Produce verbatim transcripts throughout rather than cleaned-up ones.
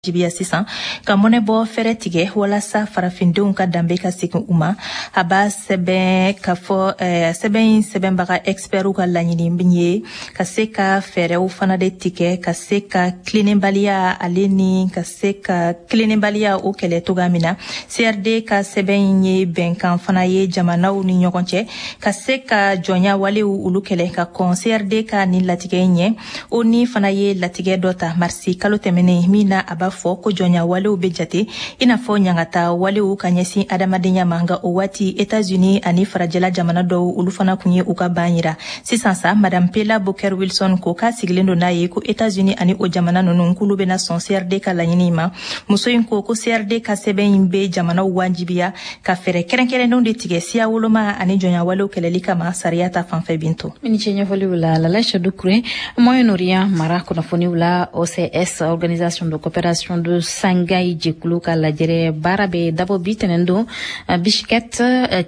Jibiya sisan ka mɔnɛ bɔ fɛrɛ tigɛ walasa farafindenw ka danbe ka segin u ma. A b'a sɛbɛn ka fɔ sɛbɛn in sɛbɛnbaga expertw ka laɲini ye ka se ka fɛɛrɛw fana de tigɛ ka se ka tilennenbaliya ale ni ka se ka tilennenbaliya o kɛlɛ cogoya min na. C R D ka sɛbɛn in ye bɛnkan fana ye jamanaw ni ɲɔgɔn cɛ ka se ka jɔnya walew olu kɛlɛ ka kɔn C R D ka nin latigɛ in ɲɛ. O ni fana ye latigɛ dɔ ta marisi kalo tɛmɛnen min na a b'a fɔ ko jɔnya walew bɛ jate i n'a fɔ ɲangata walew ka ɲɛsin adamadenya ma, nka o waati États-Unis ani farajɛla jamana dɔw olu fana kun ye u ka ban yira. Sisan sa Madame Pela Booker Wilson ko k'a sigilen don n'a ye ko États-Unis ani o jamana ninnu k'olu bɛna sɔn C R D ka laɲini ma. Muso in ko ko C R D ka sɛbɛn in bɛ jamanaw wajibiya ka fɛɛrɛ kɛrɛnkɛrɛnnenw de tigɛ siya woloma ani jɔnya walew kɛlɛli kama sariya ta fanfɛ Bintu. I ni ce ɲɛfɔliw la Lala Doucouré. Moyen-Orient mara kunnafoniw la, O C S, Organisation de coopération de Shanghai jɛkulu ka lajɛrɛ baara bɛ dabɔ bi tɛnɛn don Bishkek,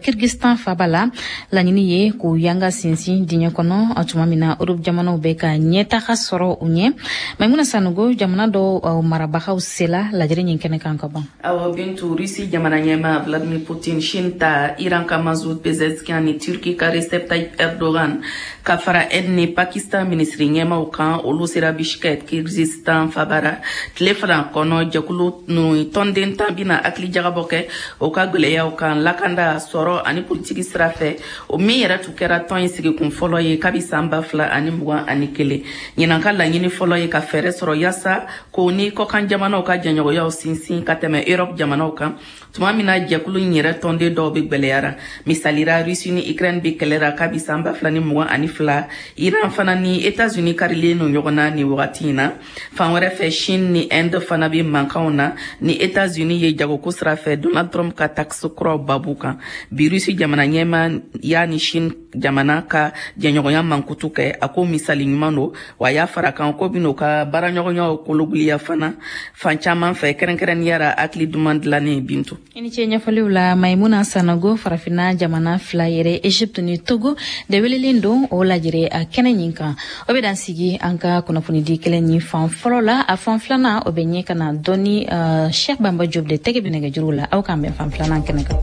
Kyrgyzstan faba la. Laɲini ye k'u yanga sinsin diɲɛ kɔnɔ tuma min na Europe jamanaw bɛ ka ɲɛtaga sɔrɔ u ɲɛ. Maimuna Sanogo, jamana dɔw marabagaw sela lajɛrɛ ɲin kɛnɛ kan ka ban. Awɔ Bintu, Russie jamana ɲɛmaa Vladimir Poutine, Chine ta Iran ka Masoud Pezeshkian ni Turquie ka Recep Tayyip Erdogan ka fara Inde ni Pakistan minisiri ɲɛmaaw kan, olu sera Bishkek, Kyrgyzstan fabara tile fila kɔnɔ. Jɛkulu ninnu tɔnden tan bɛna hakili jagabɔ kɛ o ka gwɛlɛyaw kan lakanda, sɔrɔ ani politiki sira fɛ, o min yɛrɛ tun kɛra tɔn in sigikun fɔlɔ ye kabi san ba fila ani mugan ani kelen. Ɲinan ka laɲini fɔlɔ ye ka fɛɛrɛ sɔrɔ yaasa k'o ni kɔkan jamanaw ka jɛɲɔgɔnyaw sinsin ka tɛmɛ Europe jamanaw kan, tuma min na jɛkulu in yɛrɛ tɔnden dɔw bɛ gwɛlɛyara. Misalira, Russie ni Ukraine bɛ kɛlɛ la kabi san ba fila ni mugan ani fila. Iran fana ni États-Unis karilen don ɲɔgɔn na nin wagati in na. Fan wɛrɛ fɛ, Chine ni Inde fana bɛ mankanw na ni États-Unis ye jagoko sira fɛ Donald Trump ka taxe kuraw babu kan. Bi Russie jamana ɲɛmaa y'a ni Chine jamana ka jɛɲɔgɔnya mankutu kɛ, a ko misali ɲuman don, wa a y'a fara kan ko bɛn'o ka baaraɲɔgɔnyaw kologuliya fana fan caman fɛ, kɛrɛnkɛrɛnnenya la hakili duman dilannen. Bintu, i ni ce ɲɛfɔliw la Maimuna Sanogo. Farafinna jamana fila yɛrɛ, Egypte ni Togo, de welelen don o lajɛrɛ a kɛnɛ ɲin kan. O bɛ dan sigi an ka kunnafonidi kɛlɛ ɲin fan fɔlɔ la. A fan filanan o bɛ ɲɛ ka na dɔɔni uh, Cheikh Bamba Diop de tɛgɛ bɛ nɛgɛjuru la. Aw k'an bɛn fan filanan kɛnɛ kan.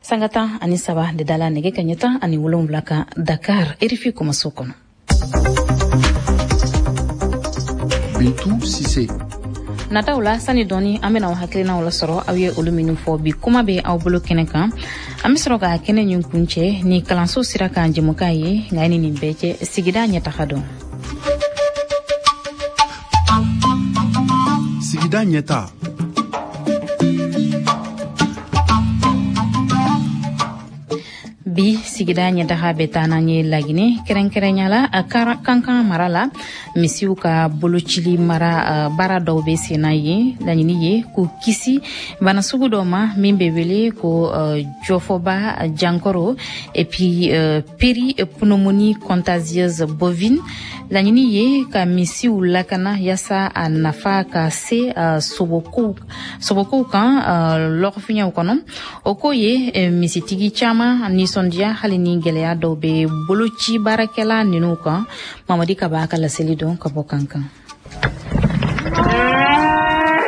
Sanga tan ani saba de dala nɛgɛ ka ɲɛ tan ani wolonwula kan Dakar, R F I kumaso kɔnɔ. Bintu Cissé. Nataw la sani dɔɔni an bɛna aw hakilinaw lasɔrɔ aw ye olu minnu fɔ bi kuma bɛ aw bolo kɛnɛ kan. An bɛ sɔrɔ ka kɛnɛ ɲin kuncɛ ni kalanso sira kan jɛmukan ye, nka ni nin bɛɛ cɛ sigida ɲɛtaga dɔn. Sigida ɲɛta. Bi sigida ɲɛtaga bɛ taa n'an ye Laginɛ, kɛrɛnkɛrɛnya la a Kankan mara la, misiw ka bolocili mara baara dɔw bɛ sen na yen. Laɲini ye k'u kisi bana sugu dɔ ma min bɛ wele ko jɔfɔba jankaro et puis péripneumonie contagieuse bovine. Laɲini ye ka misiw lakana yaasa a nafa ka se sobokow sobokow kan lɔgɔfiɲɛw kɔnɔ. O ko ye misitigi caman nisɔndiya hali ni gɛlɛya dɔw bɛ boloci baarakɛla ninnu kan. Mamadi Kaba ka laseli don ka bɔ Kankan.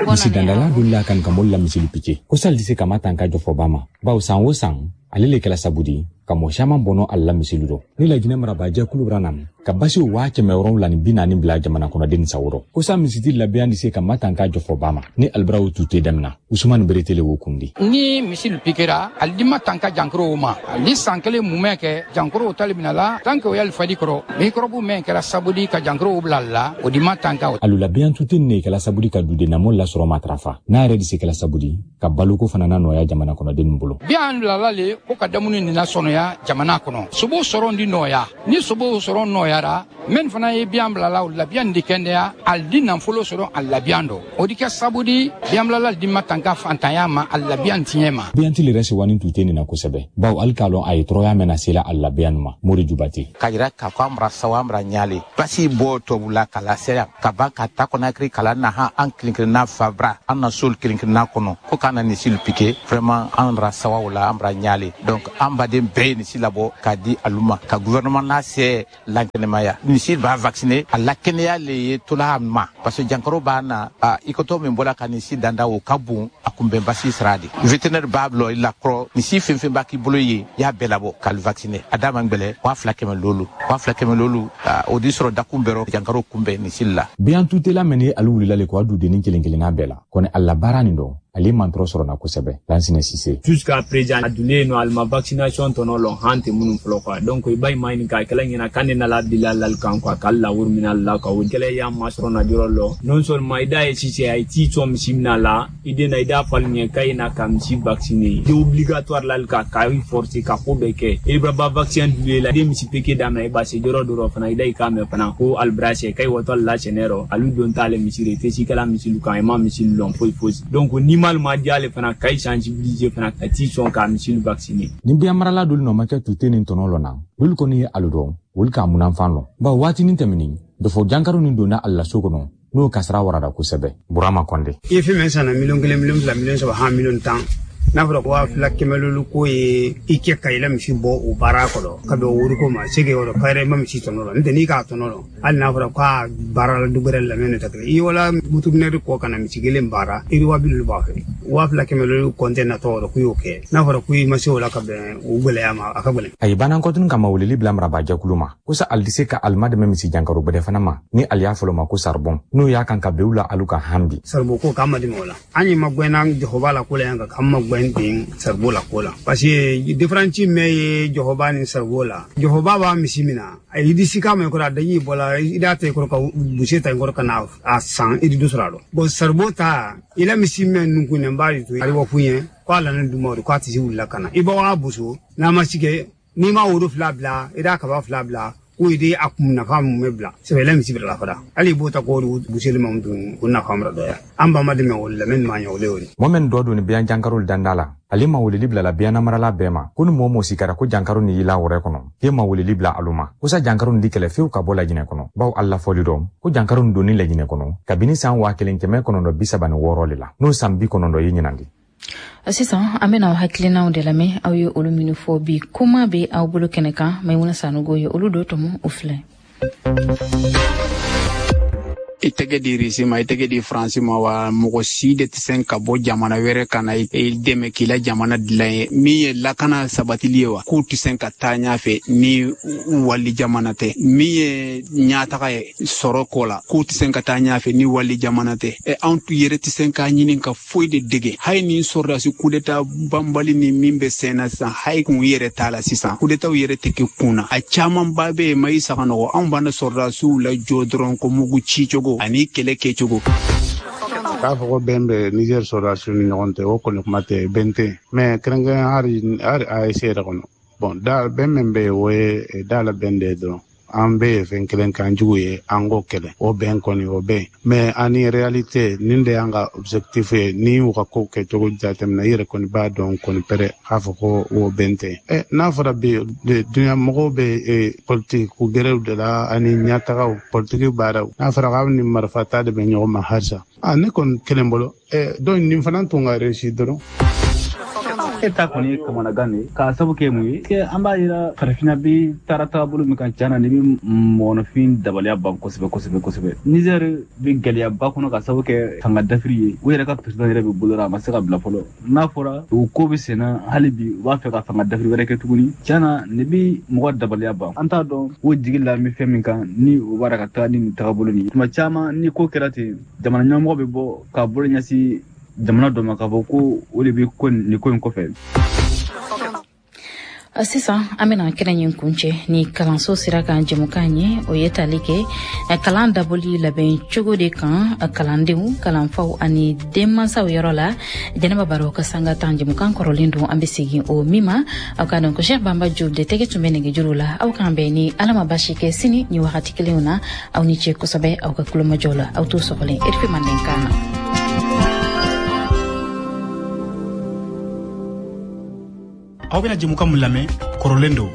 Misi dandala dun kan ka mol la misili pike ko sal dise kama tanka jɔfɔba ma, bawo san o san ale le kɛla sabu di ka mɔgɔ caman bɔnɔ ale la misili dɔ. Ni Laginɛ marabajɛkulu bra nam ka basiw waa kɛmɛ wɔrɔnwula ni bi naani bila jamana kɔnɔden sawurɔ ko sa misiti labiyan di se ka matanka jɔfɔba ma ni albiraw tu tɛ damina. Usumani Beretele wo kundi. Ni misili pikera ali di matanka jankorow ma, ali san kelen mumɛ kɛ jankorow tali mina la tant que o y'ali fadi kɔrɔ mikɔrɔbu mɛn kɛra sabu di ka jankorow bila la o di matanka. Alu labiyan tu tɛ ne kɛla sabu di ka dudenamɔ lasɔrɔ matarafa n'a yɛrɛ di se kɛla sabu di ka baloko fana na nɔgɔya jamana kɔnɔden bolo. Biyan bilala le ko ka dumuni nina sɔnɔya jamana kɔnɔ, sobo sɔrɔ di nɔgɔya, ni sobo sɔrɔ nɔgɔyara Min fana ye biyan bilala o la biyan di kɛnɛya ali di nafolo sɔrɔ a la biyan dɔ o di kɛ sabu di biyan bilala di ma tanka fantanya ma a la biyan tiɲɛ ma. Biyan tili yɛrɛ sewani tun tɛ nin na kosɛbɛ bawo hali k'a lɔn a ye tɔɔrɔya mɛn na sela a la biyan ma. Mori Jubate k'a yira k'a fɔ an bara sawa an bara ɲaale basi bɔ tubabula ka lase yan ka ban ka ta Conakry kala na han an kelen kelenna fabra an na sol kelen kelenna kɔnɔ ko k'an na nisilu piqué vraiment an bara sawa o la an bara ɲaale. Donc an baden bɛɛ ye nisi labɔ k'a di alu ma ka gouvernement n'a se lankɛnɛmaya nisi b'a vacciner a la kɛnɛya le ye tola ma parce que jankaro b'a na i kotɔ min bɔla ka nisi danda o ka bon a kunbɛn basi sira de vétérinaire b'a bila i la kɔrɔ nisi fɛn fɛn b'a k'i bolo ye i y'a bɛɛ labɔ k'ale vacciner a d'a ma gbɛlɛ waa fila kɛmɛ lolu waa fila kɛmɛ lolu o di sɔrɔ dakun bɛrɔ jankaro kunbɛn nisi la. Biyan tutela mɛn ni alu wulila le ko a dudennin kelen kelenna bɛɛ la kɔni a la baara nin dɔn ale man tɔɔrɔ sɔrɔ na kosɛbɛ. Lansine Sise jusqu'à présent a dunnen no alima vaccination tɔnɔ lɔn han tɛ minnu fɔlɔ quoi. Donc i b'a ye maa ɲininka a kɛla ɲɛna k'an de nana bila lali kan quoi k'ale lawuri minɛ la quoi. O kɛlɛ y'an masɔrɔ na yɔrɔ lɔ non seulement i da ye Sise a ye t'i sɔn misi minɛ la i den na i da fali ɲɛ k'a ye na ka misi vacciner i obligatoire lali kan k'a forcer ka ko bɛɛ kɛ i ba vaccin dun la den misi peke daminɛ i ba se yɔrɔ dɔ fana i da i k'a mɛn fana ko alibrase k'a ye wɔtɔ la sɛnɛ rɔ alu don t'ale misi de i tɛ si kɛla misilu kan i ma misilu lɔn foyi foyi. Donc ni malima diale fana k'a sensibiliser fana ka t'i sɔn k'a misilu vacciner. Ni biyan marala dolu nɔ ma kɛ tute ni tɔnɔ lɔ na olu kɔni ye alu dɔn olu k'a munanfan lɔ bawo waatinin tɛmɛnin dɔfɔ jankaro nin donna a la so kɔnɔ n'o kasara warada kosɛbɛ. Burama Kɔnde i ye fɛn min san na miliyɔn kelen miliyɔn fila miliyɔn saba han miliyɔn tan n'a fɔra ko waa fila kɛmɛ lolu ko ye i kɛ ka i la misi bɔ o baara kɔrɔ ka bɛn o woriko ma se k'o yɔrɔ k'a yɛrɛ ma misi tɔnɔ la n'o tɛ n'i k'a tɔnɔ la hali n'a fɔra k'a baara la du wɛrɛ lamɛn tɛ kelen i wala butuminɛri kɔ ka na misi kelen baara i waa bi lolu b'a fɛ waa fila kɛmɛ lolu kɔntɛ natɔ yɔrɔ k'u y'o kɛ n'a fɔra k'u ma se o la ka bɛn o gɛlɛya ma a ka gɛlɛn. A ye banankɔtunu kama weleli bila marabaajɛkulu ma ko sa ali tɛ se ka alima dɛmɛ misi jankaro gbɛdɛ fana ma ni ali y'a fɔlɔ ma ko saribɔn n'o y'a kan ka bɛn u la alu ka han bi. Saribɔn ko k'an ma dɛmɛ o la an ye magɛnna jɔhɔba la ko la yan kan k'an magɛn den saribo la ko la parce que différence mɛ ye jɔhɔba ni saribo la jɔhɔba b'a misi min na a yi disi k'a mɛ kɔrɔ a daji bɔla i da ta i kɔrɔ ka buse ta i kɔrɔ ka na a san i di dɔ sɔrɔ a la bon saribo ta i la misi mɛ nunkunnen b'a de to a bɔ f'u ɲɛ k'a la ne duma o de k'a tɛ se wulila ka na i b'a boso n'a ma si kɛ n'i ma woro fila bila i da kaba fila bila ko i de a kun nafa mun bɛ bila sɛbɛ la misi bila la fara hali i b'o ta k'o buseli ma dun o nafa mara dɔgɔya an ba ma dɛmɛ o la mɛ nin ma ɲɛ o le o de. Mɔgɔ min dɔ don ni biyan jankaro danda la ale ma weleli bila la biyan namarala bɛɛ ma ko ni mɔgɔ mɔgɔ sikara ko jankaro ni y'i la wɛrɛ kɔnɔ k'e ma weleli bila alu ma ko sa jankaro ni di kɛlɛ fewu ka bɔ Lajinɛ kɔnɔ bawo a lafɔli dɔn ko jankaro ni donni Lajinɛ kɔnɔ kabini san waa kelen kɛmɛ kɔnɔntɔn bi saba ni wɔɔrɔ de la n'o san bi kɔnɔntɔn ye ɲinan de. Sisan an bɛna aw hakilinaw de lamɛn aw ye olu minnu fɔ bi kuma bɛ aw bolo kɛnɛ kan Maimuna Sanogo ye olu dɔ tɔmɔ o filɛ. I tɛgɛ di Risi ma i tɛgɛ di Faransi ma wa mɔgɔ si de tɛ se ka bɔ jamana wɛrɛ ka na i dɛmɛ k'i la jamana dilan ye min ye lakana sabatili ye wa k'u tɛ se ka taa ɲɛfɛ ni wali jamana tɛ min ye ɲɛtaga ye sɔrɔ ko la k'u tɛ se ka taa ɲɛfɛ ni wali jamana tɛ ɛ anw yɛrɛ tɛ se k'a ɲini ka foyi de dege hali ni sɔrɔdasi kudeta banbali ni min bɛ sen na sisan hali kun yɛrɛ t'a la sisan kudetaw yɛrɛ tɛ kɛ kun na a camanba bɛ yen ma i saga nɔgɔ anw b'an sɔrɔdasiw lajɔ dɔrɔn ko mugu ci cogo ani kɛlɛ kɛcogo. K'a fɔ ko bɛn bɛ Niger sɔrɔdasiw ni ɲɔgɔn cɛ o kɔni kuma tɛ bɛn tɛ mais kɛrɛnkɛrɛn hali hali A E S yɛrɛ kɔnɔ bon da bɛn min bɛ yen o ye da la bɛn de ye dɔrɔn an bɛ ye fɛn kelen kan jugu ye an k'o kɛlɛ o bɛn kɔni o bɛn mais ani réalité nin de y'an ka objectif ye ni u ka ko kɛcogo jateminɛ i yɛrɛ kɔni b'a dɔn kɔni pɛrɛ k'a fɔ ko o bɛn tɛ ɛ n'a fɔra bi dunuya mɔgɔw bɛ politiki ko gɛrɛw de la ani ɲɛtagaw politiki baaraw n'a fɔra k'aw ni marifa ta de bɛ ɲɔgɔn ma halisa a ne kɔni kelen bolo ɛ donc nin fana tun ka réussir dɔrɔn. E ta kɔni ye kamanagan de ye k'a sabu kɛ mun ye an b'a yira farafinna bi taara taabolo min kan tiɲɛ na ni bɛ mɔgɔninfin dabaliya ban kosɛbɛ kosɛbɛ kosɛbɛ. Niger bɛ gɛlɛyaba kɔnɔ k'a sabu kɛ fanga dafiri ye u yɛrɛ ka président yɛrɛ bɛ bolo la a ma se ka bila fɔlɔ n'a fɔra o ko bɛ senna hali bi u b'a fɛ ka fanga dafiri wɛrɛ kɛ tuguni tiɲɛ na nin bɛ mɔgɔ dabaliya ban an t'a dɔn o jigi la bɛ fɛn min kan ni o b'a la ka taga ni nin tagabolo nin ye tuma caman ni ko kɛra ten jamana ɲɛmɔgɔ bɛ bɔ k'a bolo ɲɛsin jamana dɔ ma k'a fɔ ko o de bɛ ko nin ko in kɔfɛ. Sisan an bɛna kɛnɛ ɲin kuncɛ ni kalanso sira kan jɛmukan ye, o ye tali kɛ kalan dabɔli labɛn cogo de kan kalandenw, kalanfaw ani denmansaw yɔrɔ la. Jɛnɛba Baro ka sanga tan jɛmukan kɔrɔlen don, an bɛ segin o min ma. Aw ka dɔn ko Cheikh Bamba Diop de tɛgɛ tun bɛ nɛgɛjuru la. Aw k'an bɛn ni Ala ma basi kɛ sini ni wagati kelenw na. Aw ni ce kosɛbɛ aw ka kulomajɔ la. Aw t'o sɔgɔlen R F I Mandenkan na. Aw bɛna jɛmukan mun lamɛn kɔrɔlen don.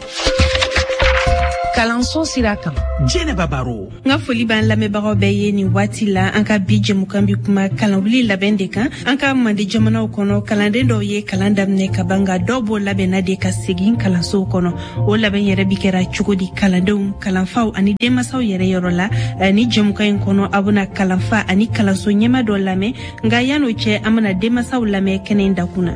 Kalanso sira kan, Jɛnɛba Baro. N ka foli b'an lamɛnbagaw bɛɛ ye nin waati la. An ka bi jɛmukan bi kuma kalanwuli labɛn de kan. An ka mande jamanaw kɔnɔ, kalanden dɔw ye kalan daminɛ ka ban, nka dɔw b'o labɛnna de ka segin kalansow kɔnɔ. O labɛn yɛrɛ bi kɛra cogo di kalandenw, kalanfaw ani denmasaw yɛrɛ yɔrɔ la? Ni jɛmukan in kɔnɔ, aw bɛna kalanfa ani kalanso ɲɛma dɔ lamɛn, nka yan'o cɛ, an bɛna denmasaw lamɛn kɛnɛ in dakun na.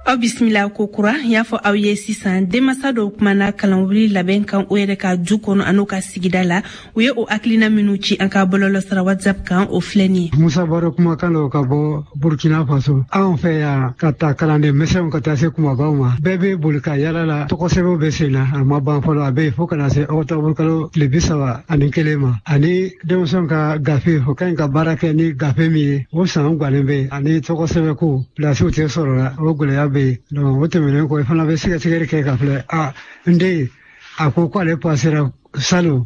Aw bisimila ko kura. Y'a fɔ aw ye sisan, denmasa dɔw kumana kalanwuli labɛn kan o yɛrɛ ka du kɔnɔ an'o ka sigida la. U ye o hakilina minnu ci an ka bɔlɔlɔsira WhatsApp kan, o filɛ nin ye. Musa Baro kumakan don ka bɔ Burkina Faso. Anw fɛ yan, ka ta kalanden misɛnw ka taa se kumabaw ma, bɛɛ bɛ boli ka yala la. Tɔgɔsɛbɛnw bɛ sen na, a ma ban fɔlɔ, a bɛ yen fo ka na se ɔkutɔburu kalo tile bi saba ani kelen ma. Ani denmisɛnw ka gafe, o ka ɲi ka baara kɛ ni gafe min ye, o san guwanen bɛ yen. Ani tɔgɔsɛbɛnko pilasiw tɛ sɔrɔ la, o gɛlɛya bɛ yen. Donc o tɛmɛnen kɔ, i fana bɛ sɛgɛsɛgɛli kɛ ka filɛ, a n den a ko k'ale pasera salon,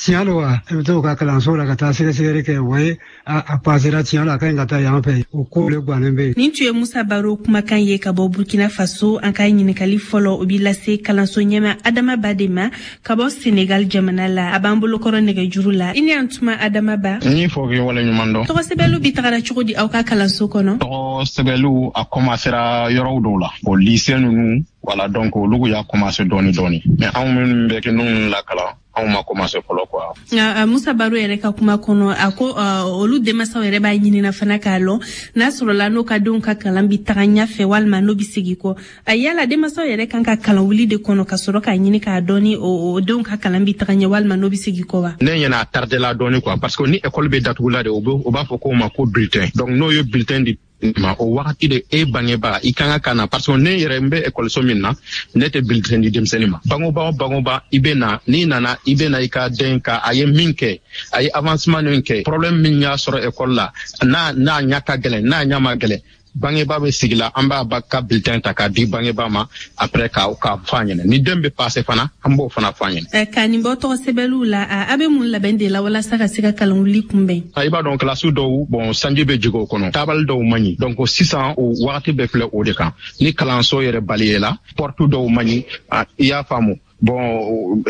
tiɲɛ don wa? I bɛ t'o ka kalanso la ka taa sɛgɛsɛgɛli kɛ, wa ye a pasera tiɲɛ la, a ka ɲi ka taa yan fɛ. O ko le guwanen bɛ yen. Nin tun ye Musa Baro kumakan ye ka bɔ Burkina Faso. An ka ɲininkali fɔlɔ, o b'i lase kalanso ɲɛma Adama Ba de ma ka bɔ Senegal jamana la. A b'an bolokɔrɔ nɛgɛjuru la. I ni an tuma, Adama Ba. N y'i fɔ k'i waleɲuman dɔn. Tɔgɔsɛbɛnliw bi tagara cogo di aw ka kalanso kɔnɔ? Tɔgɔsɛbɛnliw a commencera yɔrɔw dɔw la, o lycée ninnu, voilà, donc olu y'a commencé dɔɔni dɔɔni, mais anw minnu bɛ kɛ ninnu lakalan, anw ma commencé fɔlɔ quoi. Nka Musa Baro yɛrɛ ka kuma kɔnɔ, a ko olu denmansaw yɛrɛ b'a ɲinina fana k'a lɔn n'a sɔrɔla n'o ka denw ka kalan bi taga ɲɛfɛ walima n'o bi segin kɔ. A yala denmansaw yɛrɛ kan ka kalan wuli de kɔnɔ ka sɔrɔ k'a ɲini k'a dɔn ni o denw ka kalan bi taga ɲɛ walima n'o bi segin kɔ wa? Ne ɲɛna a tardé la dɔɔni quoi, parce que ni école bɛ datugula de, o b'a fɔ k'o ma ko bulletin. Donc n'o ye bulletin di ma, o wagati de e bangebaa i kan ka na, parce que ne yɛrɛ n bɛ ekɔliso min na, ne tɛ bulletin di denmisɛnnin ma. Bangoba o bangoba, i bɛ na, n'i nana i bɛ na i ka den ka a ye min kɛ, a ye avancement min kɛ, problème min y'a sɔrɔ ekɔli la, n'a n'a ɲɛ ka gɛlɛn, n'a ɲɛ ma gɛlɛn, bangebaa bɛ sigi la, an b'a ba ka bulletin ta k'a di bangebaa ma, après k'a k'a fɔ a ɲɛna. Ni den bɛ passer fana, an b'o fana fɔ a ɲɛna. Ka nin bɔ tɔgɔsɛbɛnliw la, a bɛ mun labɛn de la walasa ka se ka kalanwuli kunbɛn? I b'a dɔn kilasi dɔw, bon, sanji bɛ jigin o kɔnɔ, tabali dɔw man ɲi. Donc sisan o wagati bɛɛ filɛ o de kan. Ni kalanso yɛrɛ balayela, porte dɔw man ɲi, i y'a faamu. Bon,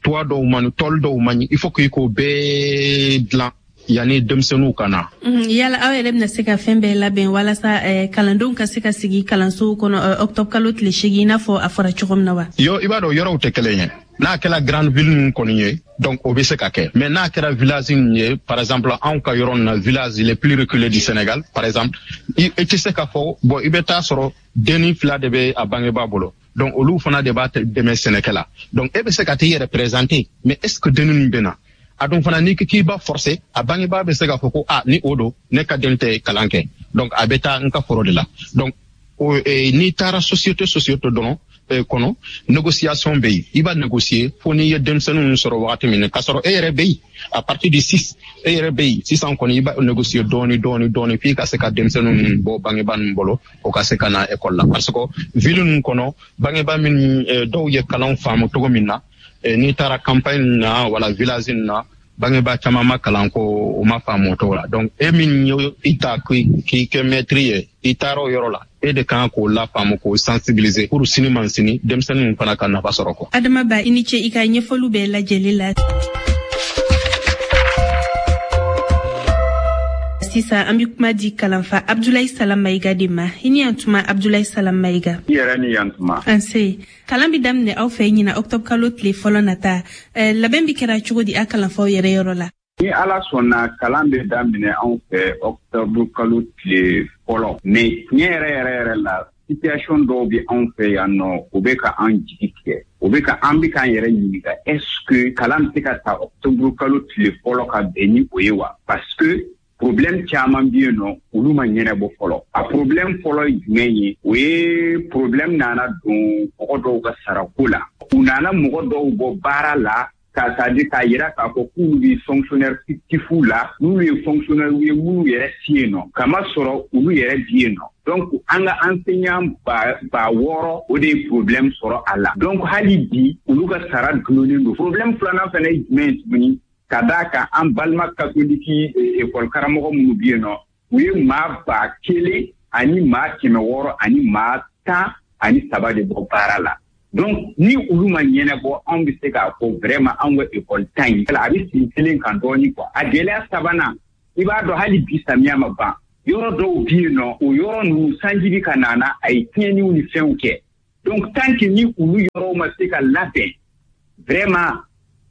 toit dɔw man ɲi, tôle dɔw man ɲi, il faut k'i k'o bɛɛ dilan yanni denmisɛnninw ka na. Yala aw yɛrɛ bɛna se ka fɛn bɛɛ labɛn walasa kalandenw ka se ka sigi kalansow kɔnɔ octobre kalo tile seegin, i n'a fɔ a fɔra cogo min na wa? Yo, i b'a dɔn yɔrɔw tɛ kelen ye. N'a kɛra grande ville ninnu kɔni ye, donc o bɛ se ka kɛ. Mais n'a kɛra village ninnu ye, par exemple anw ka yɔrɔ ninnu na, village les plus reculés du Sénégal, par exemple, i tɛ se k'a fɔ, bon, i bɛ taa sɔrɔ denni fila de bɛ a bangebaa bolo. Donc olu fana de b'a dɛmɛ sɛnɛkɛ la. Donc e bɛ se ka t'i yɛrɛ présenter, mais est ce que denni ninnu bɛ na? A dun fana n'i k'i b'a forcer, a bangebaa bɛ se k'a fɔ ko a ni o don, ne ka den tɛ kalan kɛ, donc a bɛ taa n ka foro de la. Donc o n'i taara société société dɔrɔn kɔnɔ, négociation bɛ yen, i b'a négocier fo n'i ye denmisɛnninw sɔrɔ wagati min na, k'a sɔrɔ e yɛrɛ bɛ yen à partir de six, e yɛrɛ bɛ yen sisan kɔni, i b'a négocier dɔɔni dɔɔni dɔɔni f'i ka se ka denmisɛnninw bɔ bangebaa ninnu bolo, o ka se ka na école la. Parce que ville ninnu kɔnɔ, bangebaa minnu dɔw ye kalan faamu cogo min na, n'i taara campagne na wala village na, bangebaa caman ma kalan ko o ma faamu o cogo la. Donc e min ye i ta k'i kɛ maître ye, i taara o yɔrɔ la, e de kan k'o lafaamu, k'o sensibiliser pour sini man sini denmisɛnninw fana ka nafa sɔrɔ kɔ. Adama Ba, i ni ce i ka ɲɛfɔliw bɛɛ lajɛlen la. Sisan an bɛ kuma di kalanfa Abdoulaye Salam Maïga de ma. I ni yan tuma, Abdoulaye Salam Maïga. I yɛrɛ ni yan tuma. An se. Kalan bɛ daminɛ aw fɛ ɲina octobre kalo tile fɔlɔ nata. Labɛn bɛ kɛra cogo di a kalanfaw yɛrɛ yɔrɔ la? Ni Ala sɔnna, kalan bɛ daminɛ anw fɛ octobre kalo tile fɔlɔ. Mais tiɲɛ yɛrɛ yɛrɛ yɛrɛ la, situation dɔw bɛ anw fɛ yan nɔ, o bɛ ka an jigi tigɛ. O bɛ ka an bɛ k'an yɛrɛ ɲininka, est-ce que kalan bɛ se ka ta octobre kalo tile fɔlɔ ka bɛn ni o ye wa? Parce que Problème caman bɛ yen nɔ, olu ma ɲɛnabɔ fɔlɔ. A problème fɔlɔ ye jumɛn ye? O ye problème nana don mɔgɔ dɔw ka sarako la. U nana mɔgɔ dɔw bɔ baara la, k'a c'est-à-dire k'a yira k'a fɔ k'olu bɛ fonctionnaire fictif la, n'olu ye fonctionnaire ye minnu yɛrɛ ti yen nɔ, kama sɔrɔ olu yɛrɛ bi yen nɔ. Donc an ka enseignant ba ba wɔɔrɔ, o de ye problème sɔrɔ a la. Donc hali bi olu ka sara dulonnen don. Problème filanan fana ye jumɛn ye tuguni? Ka d'a kan an balima katoliki école karamɔgɔ minnu bɛ yen nɔ, u ye maa ba kelen ani maa kɛmɛ wɔɔrɔ ani maa tan ani saba de bɔ baara la. Donc ni olu ma ɲɛnabɔ, anw bɛ se k'a fɔ vraiment anw ka école ta in, a bɛ sen kelen kan dɔɔni quoi. A gɛlɛya sabanan, i b'a dɔn hali bi samiya ma ban, yɔrɔ dɔw bɛ yen nɔ, o yɔrɔ ninnu sanji bɛ ka na na, a ye tiɲɛniw ni fɛnw kɛ. Donc tant que ni olu yɔrɔw ma se ka labɛn, vraiment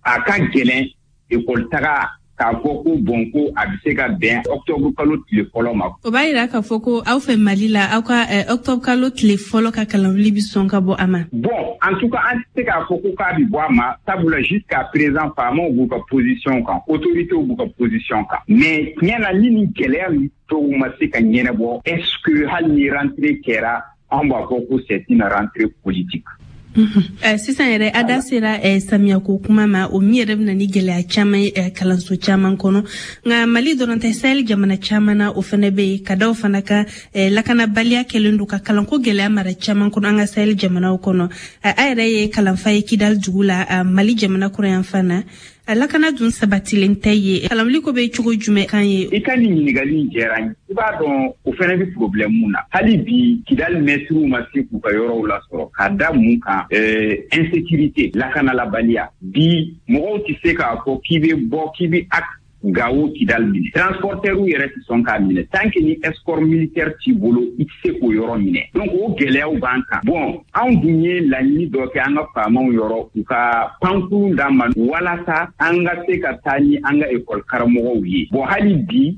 a ka gɛlɛn école taga k'a fɔ ko bon, ko a bɛ se ka bɛn octobre kalo tile fɔlɔ ma. O b'a yira k'a fɔ ko aw fɛ Mali la, aw ka octobre kalo tile fɔlɔ ka kalanwuli bɛ sɔn ka bɔ a ma. Bon, en tout cas an tɛ se k'a fɔ ko k'a bɛ bɔ a ma, sabula jusqu'à présent faamaw b'u ka position kan, autorités b'u ka position kan. Mais tiɲɛ na, ni nin gɛlɛya dɔw ma se ka ɲɛnabɔ, est ce que hali ni rentrée kɛra, anw b'a fɔ ko c'est une rentrée politique. Sisan yɛrɛ, a da sera samiyako kuma ma, o min yɛrɛ bɛna ni gɛlɛya caman ye kalanso caman kɔnɔ. Nka Mali dɔrɔn tɛ, Sahel jamana caman na o fana bɛ yen. Ka da o fana kan, lakanabaliya kɛlen don ka kalanko gɛlɛya mara caman kɔnɔ an ka Sahel jamanaw kɔnɔ. A yɛrɛ ye kalanfa ye Kidali dugu la, Mali jamana kɔrɔyanfan na. A lakana dun sabatilen tɛ ye. Kalanwuli ko bɛ cogo jumɛn kan ye? I ka nin ɲininkali in diyara n ye. I b'a dɔn, o fana bɛ problème mun na, hali bi Kidali mɛtiriw ma se k'u ka yɔrɔw lasɔrɔ. Ka da mun kan? Insécurité, lakanalabaliya. Bi mɔgɔw tɛ se k'a fɔ k'i bɛ bɔ k'i bɛ axe Gawo Kidali minɛ. Transporteur yɛrɛ tɛ sɔn k'a minɛ tant que ni escorte militaire t'i bolo, i tɛ se k'o yɔrɔ minɛ. Donc o gɛlɛyaw b'an kan. Bon, anw dun ye laɲini dɔ kɛ an ka faamaw yɔrɔ, u ka pankurun d'an ma walasa an ka se ka taa ni an ka école karamɔgɔw ye. Bon, hali bi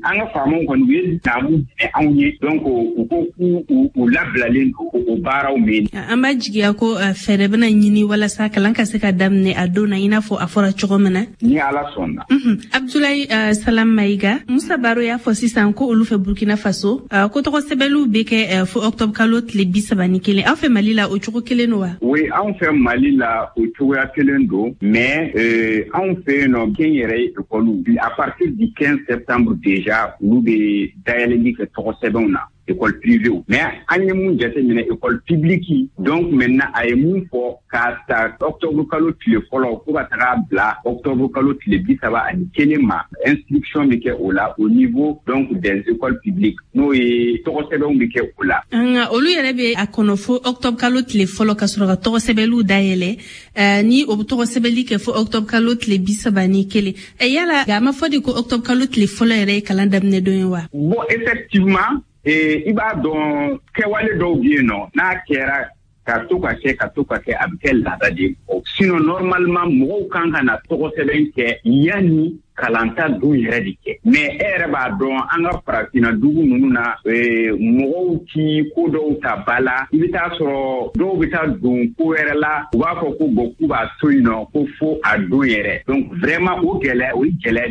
an ka faamaw kɔni, u ye naamu minɛ anw ye. Donc u ko k'u u labilalen don o baaraw mɛn. An b'a jigiya ko fɛɛrɛ bɛna ɲini walasa kalan ka se ka daminɛ a don na, i n'a fɔ a fɔra cogo min na. Ni Ala sɔnna. Abdoulaye uh, Salam Maïga, Musa Baro y'a fɔ sisan ko olu fɛ Burkina Faso, uh, ko tɔgɔ sɛbɛnliw bɛ kɛ uh, fo octobre kalo tile bi saba ni kelen. Aw fɛ Mali la, o cogo kelen don wa? Oui, anw fɛ Mali la, o cogoya kelen don, mais euh, anw fɛ yen nɔ, kɛnyɛrɛye école, à partir du quinze septembre déjà, olu bɛ dayɛlɛli kɛ tɔgɔ sɛbɛnw na, école privée. Mais an ye mun jateminɛ, école publique, donc maintenant a ye mun fɔ, k'a ta octobre kalo tile fɔlɔ fo ka taga bila octobre kalo tile bi saba ani kelen ma, inscription bɛ kɛ o la au niveau donc des écoles publiques, n'o ye tɔgɔ sɛbɛnw bɛ kɛ o la. Nka olu yɛrɛ bɛ a kɔnɔ fo octobre kalo tile fɔlɔ ka sɔrɔ ka tɔgɔ sɛbɛnliw dayɛlɛ, ni o bɛ tɔgɔ sɛbɛnli kɛ fo octobre kalo tile bi saba ni kelen. Yala a ma fɔ de ko octobre kalo tile fɔlɔ yɛrɛ ye kalan daminɛ don ye wa? Bon, effectivement, i b'a dɔn, kɛwale dɔw bɛ yen nɔ, n'a kɛra ka to ka kɛ ka to ka kɛ, a bɛ kɛ laada de ye. Sinon normalement mɔgɔw kan ka na tɔgɔ sɛbɛn kɛ yanni kalanta don yɛrɛ de kɛ. Mais e yɛrɛ b'a dɔn, an ka farafinna dugu ninnu na, mɔgɔw ti ko dɔw ta ba la. I bɛ taa sɔrɔ dɔw bɛ taa don ko wɛrɛ la, u b'a fɔ ko bon, k'u b'a to yen nɔ ko fo a don yɛrɛ. Donc vraiment o gɛlɛya, o ye gɛlɛya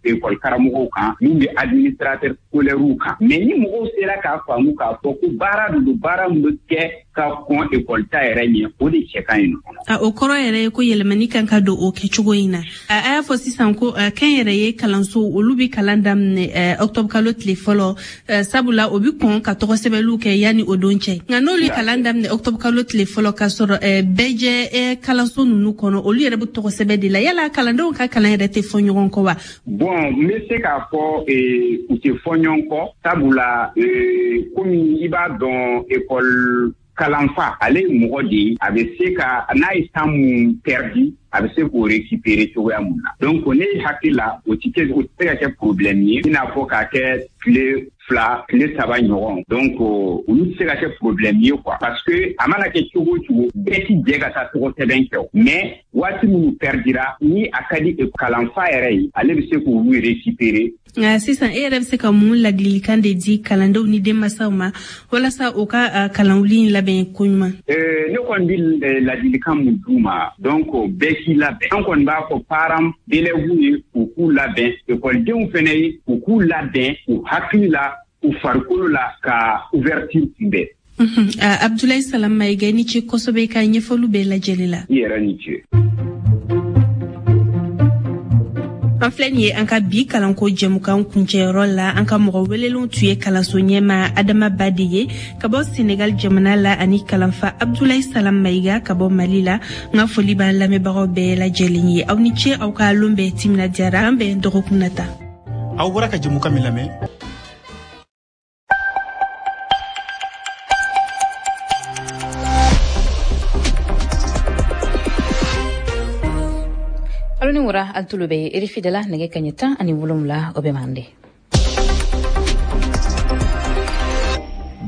de école karamɔgɔw kan, min bɛ administrateur scolaire kan. Mais ni mɔgɔw sera k'a faamu k'a fɔ ko baara de don, baara min bɛ kɛ ka kɔn école ta yɛrɛ ɲɛ, o de cɛ ka ɲi nɔ. A o kɔrɔ yɛrɛ ye ko yɛlɛmani kan ka don o kɛcogo in na. A y'a fɔ sisan ko kɛnyɛrɛye kalanso, olu bɛ kalan daminɛ octobre kalo tile fɔlɔ, sabula o bɛ kɔn ka tɔgɔ sɛbɛnliw kɛ yanni o don cɛ. Nka n'olu ye kalan daminɛ octobre kalo tile fɔlɔ, ka sɔrɔ bɛɛ jɛ kalanso ninnu kɔnɔ, olu yɛrɛ bɛ tɔgɔ sɛbɛn de la, yala kalandenw ka kalan yɛrɛ tɛ fɔ ɲɔgɔn kɔ wa? Bon, n bɛ se k'a fɔ u tɛ fɔ ɲɔgɔn kɔ, sabula komi i b'a dɔn, école kalanfa, ale ye mɔgɔ de ye, a bɛ se ka n'a ye temps mun perdu, a bɛ se k'o récupérer cogoya mun na. Donc ne hakili la, o ti kɛ, o tɛ se ka kɛ problème ye, i n'a fɔ k'a kɛ tile fila tile saba ɲɔgɔn. Donc olu tɛ se ka kɛ problème ye quoi, parce que a mana kɛ cogo o cogo, bɛɛ ti jɛ ka taa tɔgɔ sɛbɛn kɛ o. Mais waati minnu perdira, ni a ka di kalanfa yɛrɛ ye, ale bɛ se k'olu récupérer. Nka sisan e yɛrɛ bɛ se ka mun ladilikan de di kalandenw ni denmansaw ma walasa u ka kalanwuli in labɛn koɲuman? Ne kɔni bɛ ladilikan mun d'u ma, donc bɛɛ k'i labɛn. An kɔni b'a fɔ parents d'élèves ye u k'u labɛn, ekɔlidenw fɛnɛ ye u k'u labɛn u hakili la, u farikolo la, ka ouverture kunbɛn. Abdoulaye Salam Maïga, ni ce kosɛbɛ i ka ɲɛfɔliw bɛɛ lajɛlen la. I yɛrɛ ni ce. An filɛ nin ye an ka bi kalanko jɛmukan kuncɛyɔrɔ la. An ka mɔgɔ welelenw tun ye kalanso ɲɛma Adama Ba de ye ka bɔ Senegal jamana la, ani kalanfa Abdoulaye Salam Maïga ka bɔ Mali la. N ka foli b'an lamɛnbagaw bɛɛ lajɛlen ye. Aw ni ce, aw ka lon bɛɛ timinadiyara. An bɛn dɔgɔkun nata. Aw bɔra ka jɛmukan min lamɛn. Alo ni wura al tulo bɛ R F I de la nɛgɛ kaɲɛ tan ani wolonwula o bɛ mande.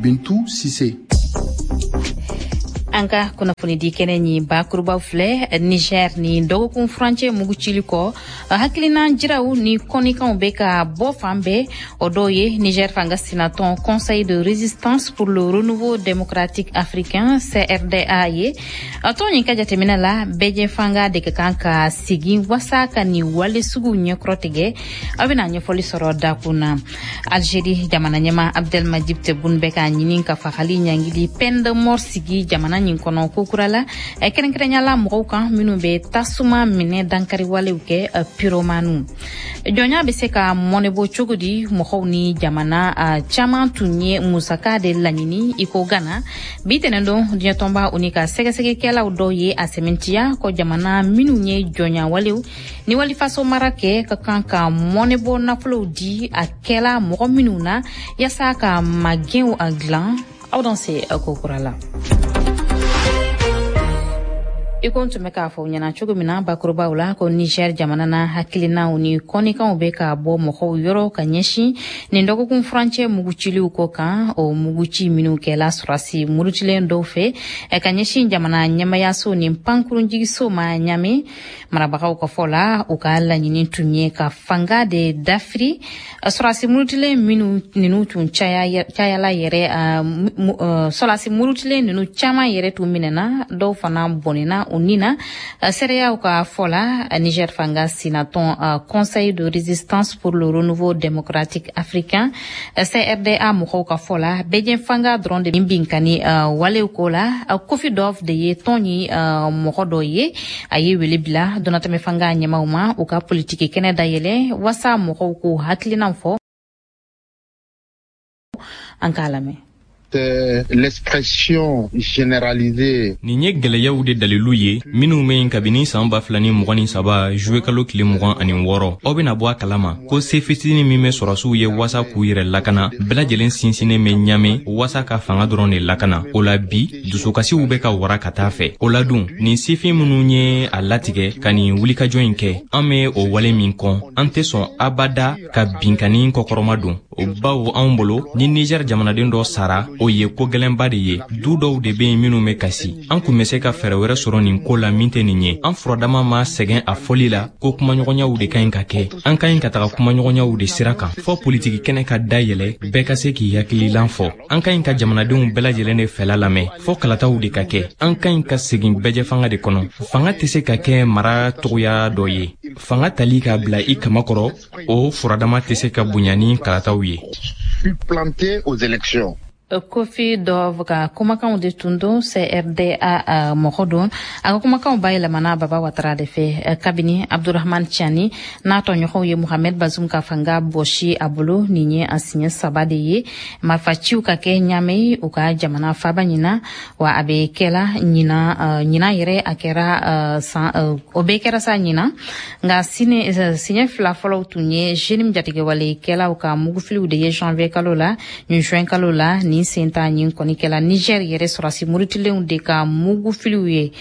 Bintu Sise. An ka kunnafoni di kɛnɛ ni bakurubaw filɛ. Niger ni dɔgɔkun furancɛ mugucili kɔ, hakilinan jiraw ni kɔnikanw bɛ ka bɔ fan bɛɛ. O dɔw ye Niger fanga sinatɔn Conseil de résistance pour le renouveau démocratique africain C R D A ye. A tɔn nin ka jateminɛ la, bɛɛjɛ fanga de ka kan ka sigi wasa ka nin wale suguw ɲɛkɔrɔ tigɛ. Aw bɛna ɲɛfɔli sɔrɔ dakun na. Algérie jamana ɲɛma Abdelmadjid Tebboune bɛ ka ɲini ka fagali ɲangili peine de mort sigi jamana nin kɔnɔ kokura la, kɛrɛnkɛrɛnya la mɔgɔw kan minnu bɛ tasuma minɛ dankariwalew kɛ, pyromanu. Jɔnya bɛ se ka mɔnɛbɔ cogo di? Mɔgɔw ni jamana caman tun ye musaka de laɲini i ko Ghana. Bi tɛnɛndon diɲɛtɔnba o ni ka sɛgɛsɛgɛkɛlaw dɔw ye a sɛmɛntiya ko jamana minnu ye jɔnyawalew ni walifaso mara kɛ ka kan ka mɔnɛbɔ nafolow di a kɛla mɔgɔ minnu na yaasa ka magɛnw a dilan. Aw dan se kokura la. I ko n tun bɛ k'a fɔ ɲɛna cogo min na bakurubaw la, ko Niger jamana na hakilinaw ni kɔnikanw bɛ ka bɔ mɔgɔw yɔrɔ ka ɲɛsin nin dɔgɔkun furancɛ muguciliw ko kan. O muguci minnu kɛla sɔrɔsi murutilen dɔw fɛ ka ɲɛsin jamana ɲɛmayaso ni pankurunjigiso ma Ɲame. Marabagaw ka fɔ la, u ka laɲini tun ye ka fanga de dafiri. Sɔrɔsi murutilen minnu ninnu tun cayala yɛrɛ, sɔrɔsi murutilen ninnu caman yɛrɛ tun minɛna, dɔw fana bɔnɛna o nina. Seereyaw ka fɔ la, Niger fanga sinatɔn Conseil de résistance pour le renouveau démocratique africain C R D A mɔgɔw ka fɔ la, bɛjɛ fanga dɔrɔn de binkani walew ko la. Kofi Dɔf de ye tɔn ni mɔgɔ dɔ ye, a ye wele bila donatɛmɛ fanga ɲɛmaw ma u ka politiki kɛnɛ dayɛlɛ wasa mɔgɔw k'u hakilinaw fɔ. An k'a lamɛn. L'expression généralisée. Nin ye gɛlɛyaw de dalilu ye minnu bɛ yen kabini san ba fila ni mugan ni saba juwe kalo tile mugan ani wɔɔrɔ. Aw bɛna bɔ a kalama ko se fitinin min bɛ sɔrɔsiw ye wasa k'u yɛrɛ lakana bɛɛ lajɛlen sinsinnen bɛ Ɲame wasa ka fanga dɔrɔn de lakana. O la bi dusukasiw bɛ ka wara ka taa fɛ. O la dun nin sifin minnu ye a latigɛ ka nin wulikajɔ in kɛ, an bɛ o wale min kɔn, an tɛ sɔn abada ka binkanni kɔkɔrɔma don. O bawo anw bolo ni Niger jamanaden dɔ sara, o ye ko gɛlɛnba de ye. Du dɔw de bɛ yen minnu bɛ kasi. An kun bɛ se ka fɛɛrɛ wɛrɛ sɔrɔ nin ko la min tɛ nin ye. An furadama ma sɛgɛn a fɔli la ko kumaɲɔgɔnyaw de ka ɲi ka kɛ. An ka ɲi ka taga kumaɲɔgɔnyaw de sira kan fɔ politiki kɛnɛ ka dayɛlɛ, bɛɛ ka se k'i hakililan fɔ. An ka ɲi ka jamanadenw bɛɛ lajɛlen de fɛla lamɛn fɔ kalataw de ka kɛ. An ka ɲi ka segin bɛɛjɛfanga de kɔnɔ. Fanga tɛ se ka kɛ mara togoya dɔ ye. Fanga tali k'a bila i kama kɔrɔ, o furadama tɛ se ka bonya ni kalataw ye. Supplanter aux élections. Kofi Dɔf ka kumakanw de tun don, C R D A mɔgɔ don. A ka kumakanw bayɛlɛmana Baba Watara de fɛ. Kabini Abdurahman Tiani n'a tɔɲɔgɔnw ye Mohamed Bazoum ka fanga bɔsi a bolo, nin ye a siɲɛ saba de ye marifaciw ka kɛ Ɲame u ka jamana faba ɲina. Wa a bɛ kɛla ɲina ɲina yɛrɛ a kɛra san, o bɛɛ kɛra sa ɲina. Nka siɲɛ fila fɔlɔw tun ye JNIM jatigɛwalekɛlaw ka mugufiliw de ye janvier kalo la ni juin kalo la. Nin senta ɲin kɔni kɛla Niger yɛrɛ sɔrɔsi murutilenw de ka mugufiliw ye.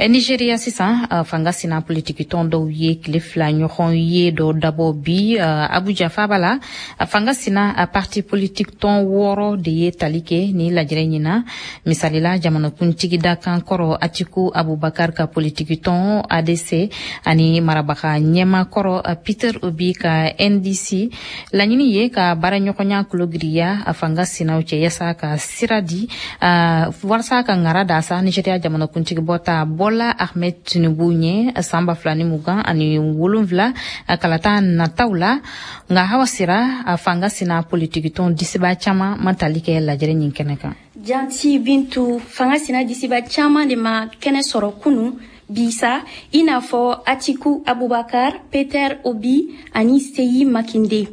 Nigeria sisan, fanga sina politikitɔn dɔw ye tile fila ɲɔgɔn ye dɔ dabɔ bi Abuja faaba la. Fanga sina parti politique tɔn wɔɔrɔ de ye tali kɛ ni lajɛrɛ ɲin na. Misalila, jamanakuntigi dakan kɔrɔ Atiku Abubakar ka politikitɔn A D C ani marabaga ɲɛma kɔrɔ Peter Obi ka N D C. Laɲini ye ka baaraɲɔgɔnya kologiriya a fanga sinaw cɛ, yasa ka sira di walasa ka ŋara da sa Nigeria jamanakuntigi bɔta Bola Ahmed Tinubu ɲɛ san ba fila ni mugan ani wolonfila kalata nataw la. Nka Hawa Sira, a fanga sina politikitɔn disiba caman ma tali kɛ lajɛrɛ ɲin kɛnɛ kan. Janti Bintu, fanga sina disiba caman de ma kɛnɛ sɔrɔ kunu bisa, i n'a fɔ Atiku Abubakar, Peter Obi ani Seyi Makinde.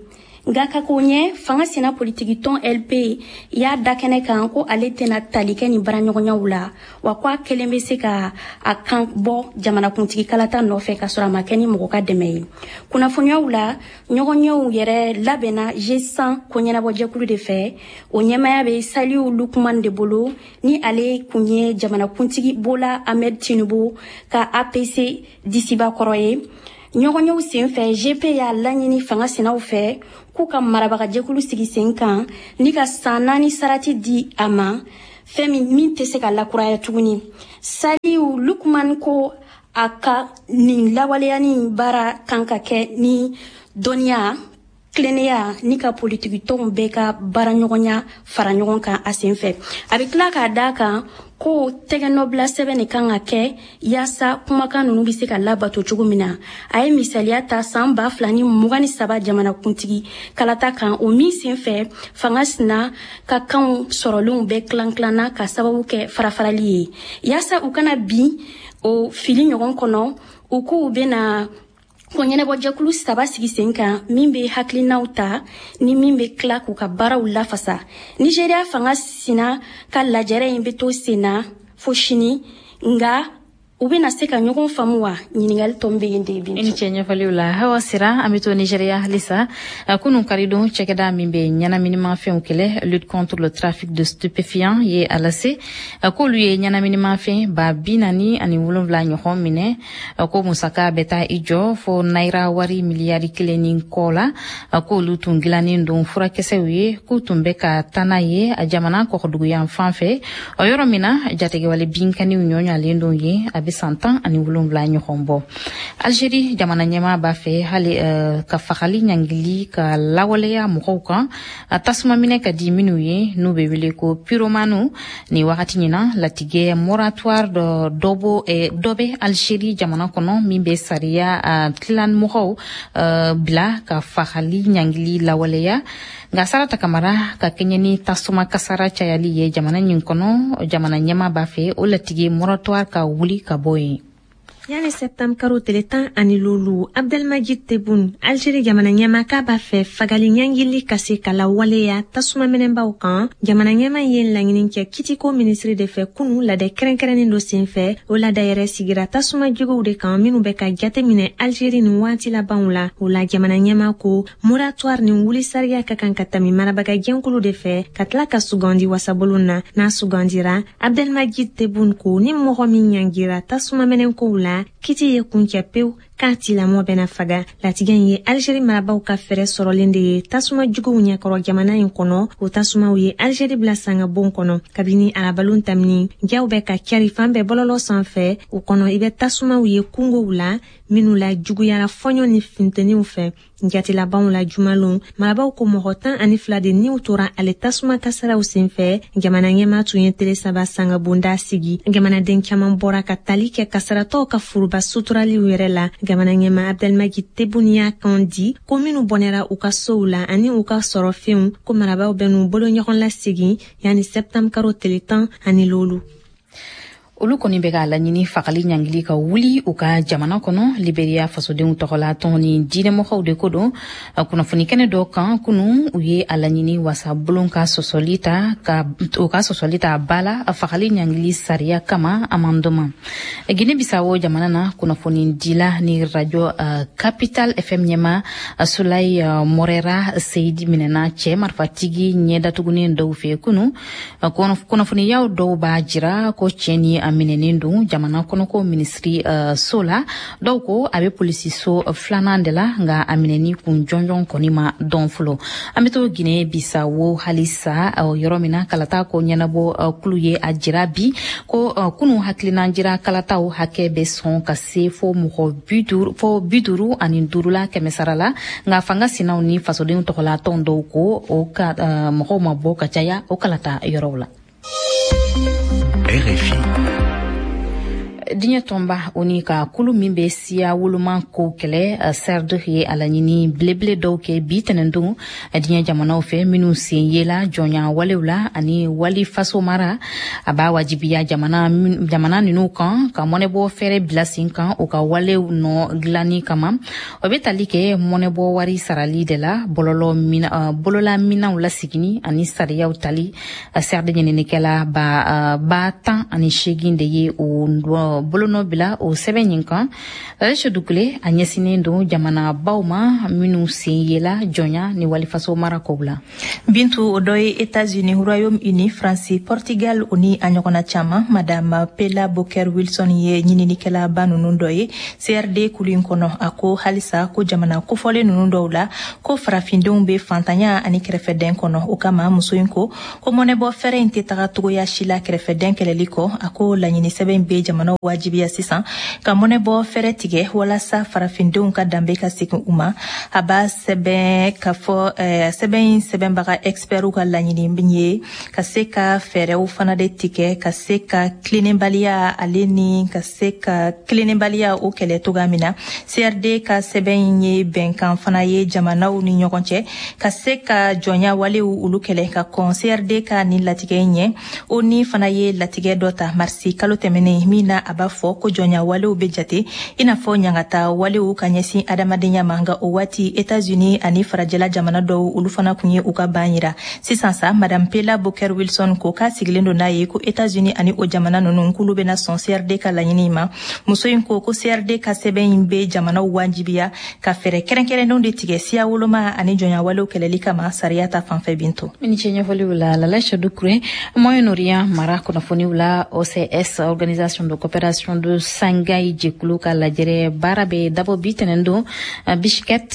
Nka ka ko ɲɛ, fanga sina politikitɔn L P y'a da kɛnɛ kan ko ale tɛna tali kɛ nin baaraɲɔgɔnyaw la, wa ko a kelen bɛ se ka a kan bɔ jamanakuntigi kalata nɔfɛ ka sɔrɔ a ma kɛ ni mɔgɔ ka dɛmɛ ye. Kunnafoniyaw la, ɲɔgɔnyew yɛrɛ labɛnna G cent ko ɲɛnabɔjɛkulu de fɛ. O ɲɛmaya bɛ Saliu Lukman de bolo, ni ale kun ye jamanakuntigi Bola Ahmed Tinubu ka A P C disiba kɔrɔ ye. Ɲɔgɔnyew sen fɛ, G P y'a laɲini fanga sinaw fɛ k'u ka marabagajɛkulu sigi sen kan ni ka san naani sarati di a ma, fɛn min min tɛ se ka lakuraya tuguni. Saliu Lukman ko a ka nin lawaleyani baara kan ka kɛ ni dɔnniya, tilennenya ni ka politikitɔnw bɛɛ ka baaraɲɔgɔnya fara ɲɔgɔn kan a sen fɛ. A bɛ tila k'a da kan ko tɛgɛnɔbila sɛbɛn de kan ka kɛ yaasa kumakan ninnu bɛ se ka labato cogo min na. A ye misaliya ta san ba fila ni mugan ni saba jamanakuntigi kalata kan, o min sen fɛ fanga sina ka kanw sɔrɔlenw bɛɛ tilan tilanna ka sababu kɛ farafarali ye. Yaasa u kana bin o fili ɲɔgɔn kɔnɔ, u k'u bɛna ko ɲɛnabɔjɛkulu saba sigi sen kan, min bɛ hakilinaw ta ni min bɛ tila k'u ka baaraw lafasa. Nigeriya fanga sina ka lajɛrɛ in bɛ to sen na fo sini, nka u bɛna se ka ɲɔgɔn faamu wa? Ɲininkali tɔ bɛ yen de. I ni cɛ ɲɛfɔliw la, Hawa Sira. An bɛ to Nigeriya halisa. Kunun karidon, cɛkɛda min bɛ ɲɛnaminimafɛnw kɛlɛ, lutte contre le trafic de stupéfiants, ye a lase k'olu ye ɲɛnaminimafɛn ba bi naani ani wolonwula ɲɔgɔn minɛ, ko musaka bɛ taa i jɔ fo naira wari miliyari kelen ni kɔ la, k'olu tun dilannen don furakisɛw ye, k'u tun bɛ ka taa n'a ye a jamana kɔkɔduguyan fan fɛ, o yɔrɔ min na jatigɛwale binkaniw ɲɔɲalen don yen a bɛ san tan ani wolonwula ɲɔgɔn bɔ. Algérie jamana ɲɛmaa b'a fɛ hali uh, ka fagali ɲangili ka lawaleya mɔgɔw kan tasuma minɛ ka di minnu ye, n'u bɛ wele ko pyromanu. Ni wagati ɲina, latigɛ moratoire dɔ dɔ bɔ eh, dɔ bɛ Algérie jamana kɔnɔ min bɛ sariya uh, tilanmɔgɔw uh, bila ka fagali ɲangili lawaleya. Nka Sarata Kamara, ka kɛɲɛ ni tasuma kasara cayali ye jamana ɲin kɔnɔ, jamana ɲɛmaa b'a fɛ o latigɛ moratoire ka wuli ka bɔ yen. Yani septembre karo tele tan ani lolu, Abdelmajid Tebboune, Algérie jamana ɲɛma, k'a b'a fɛ fagali ɲangili ka se ka lawaleya tasuma minɛbaw kan. Jamana ɲɛma ye laɲini kɛ kitiko minisiri de fɛ kunu ladɛ kɛrɛnkɛrɛnnen dɔ sen fɛ. O lada yɛrɛ sigira tasuma juguw de kan minnu bɛ ka jate minɛ Algérie nin waati labanw la. O la, jamana ɲɛma ko moratoire nin wuli sariya ka kan ka tami marabaga jɛnkulu de fɛ ka tila ka sugandi wasabolon na. N'a sugandira, Abdelmajid Tebboune ko ni mɔgɔ min ɲangira tasuma minɛkow la, kiti ye kuncɛ pewu, k'a tilamɔ bɛna faga. Latigɛ in ye Algérie marabaw ka fɛɛrɛ sɔrɔlen de ye tasuma juguw ɲɛkɔrɔ jamana in kɔnɔ. O tasumaw ye Algérie bila sangabon kɔnɔ kabini arabalon tamini. Jaw bɛ ka cari fan bɛɛ bɔlɔlɔ sanfɛ. O kɔnɔ, i bɛ tasumaw ye kungow la minnu la juguyara fɔɲɔ ni funteniw fɛ. Jatilabanw la, jumalon, marabaw ko mɔgɔ tan ani fila de niw tora ale tasuma kasaraw senfɛ. Jamana ɲɛma tun ye tele saba sangabonda sigi. Jamanaden caman bɔra ka tali kɛ kasaratɔw ka foroba suturaliw yɛrɛ la. Jamana ɲɛma Abdelmajid Tebboune y'a kan di ko minnu bɔnɛra u ka sow la ani u ka sɔrɔfɛnw, ko marabaw bɛ n'u bolo ɲɔgɔn lasegin yani septembre karo tele tan ani lolu. Olu kɔni bɛ k'a laɲini fagali ɲangili ka wuli u ka jamana kɔnɔ. Liberia fasodenw tɔgɔla tɔn ni diinɛmɔgɔw de ko don. Kunnafoni kɛnɛ dɔ kan kunu, u ye a laɲini wasabulon ka sɔsɔli ta ka u ka sɔsɔli ta ba la fagali ɲangili sariya kama amendement. Guinée Bissau jamana na, kunnafoni dila ni radio uh, Capital F M ɲɛma Sulay uh, Morera Seyidi minɛna cɛ marifatigi ɲɛ datugunen dɔw fɛ kunu. Kunnafoniyaw dɔw b'a jira ko cɛ ni a minɛnen don jamana kɔnɔko minisiri uh, so la. Dɔw ko a bɛ polisiso filanan de la, nka a minɛni kun jɔnjɔn kɔni ma dɔn fɔlɔ. An bɛ to Guinée Bissau halisa, uh, yɔrɔ min na kalata ko ɲɛnabɔ uh, kulu ye a jira bi ko uh, kunu hakilinan jira kalataw hakɛ bɛ sɔn ka se fo mɔgɔ bi duuru fo bi duuru ani duuru la kɛmɛ sara la, nka fanga sinaw ni fasodenw tɔgɔla tɔn dɔw ko o ka uh, mɔgɔw ma bɔ ka caya o kalata yɔrɔw la. R F I. Diɲɛ tɔnba o ni ka kulu min bɛ siya woloma ko kɛlɛ C R D ye a laɲini belebele dɔw kɛ bi tɛnɛndon diɲɛ jamanaw fɛ minnu sen yela jɔnya walew la ani wali faso mara. A b'a wajibiya jamana jamana ninnu kan ka mɔnɛbɔ fɛɛrɛ bila sen kan u ka walew nɔ dilanni kama. O bɛ tali kɛ mɔnɛbɔ wari sarali de la, bɔlɔlɔ bolola minɛnw lasigini ani sariyaw tali. C R D ɲininikɛla ba ba tan ani seegin de ye o bolonɔ bila o sɛbɛn nin kan. Aisha Dukule a ɲɛsinnen don jamana baw ma minnu sen yela jɔnya ni walifaso mara kow la. Bintu, o dɔ ye États-Unis, Royaume-Uni, France, Portugal o ni a ɲɔgɔnna caman. Madame Pela Boker Wilson ye ɲininikɛlaba ninnu dɔ ye C R D kulu in kɔnɔ. A ko halisa ko jamana kofɔlen ninnu dɔw la, ko farafindenw bɛ fantanya ani kɛrɛfɛdɛn kɔnɔ. O kama muso in ko ko mɔnɛbɔ fɛɛrɛ in tɛ taga togoya si la kɛrɛfɛdɛn kɛlɛli kɔ. A ko laɲini sɛbɛn bɛ jamanaw wajibiya sisan ka mɔnɛbɔ fɛɛrɛ tigɛ walasa farafindenw ka danbe ka segin u ma. A b'a sɛbɛn ka fɔ sɛbɛn in sɛbɛnbaga expertw ka laɲini ye ka se ka fɛɛrɛw fana de tigɛ ka se ka tilennenbaliya ale ni ka se ka tilennenbaliya o kɛlɛ togoya min na. C R D ka sɛbɛn in ye bɛnkan fana ye jamanaw ni ɲɔgɔn cɛ ka se ka jɔnya walew olu kɛlɛ. Ka kɔn C R D ka nin latigɛ in ɲɛ, o ni fana ye latigɛ dɔ ta marisi kalo tɛmɛnen min na a b'a fɔ ko jɔnya walew bɛ jate i n'a fɔ ɲangata walew ka ɲɛsin adamadenya ma. Nka o waati, États-Unis ani farajɛla jamana dɔw olu fana kun ye u ka ban yira. Sisan sa, Madame Pela Boker Wilson ko k'a sigilen don n'a ye ko États-Unis ani o jamana ninnu k'olu bɛna sɔn C R D ka laɲini ma. Muso in ko ko C R D ka sɛbɛn in bɛ jamanaw wajibiya ka fɛɛrɛ kɛrɛnkɛrɛnnenw de tigɛ siya woloma ani jɔnya walew kɛlɛli kama sariya ta fanfɛ. Bintu. I ni ce ɲɛfɔliw la, Lala Dukure. Moyen-Orient mara kunnafoniw la, O C S, Organisation de coopération de Shanghai jɛkulu ka lajɛrɛ baara bɛ dabɔ bi tɛnɛn don Bishkek,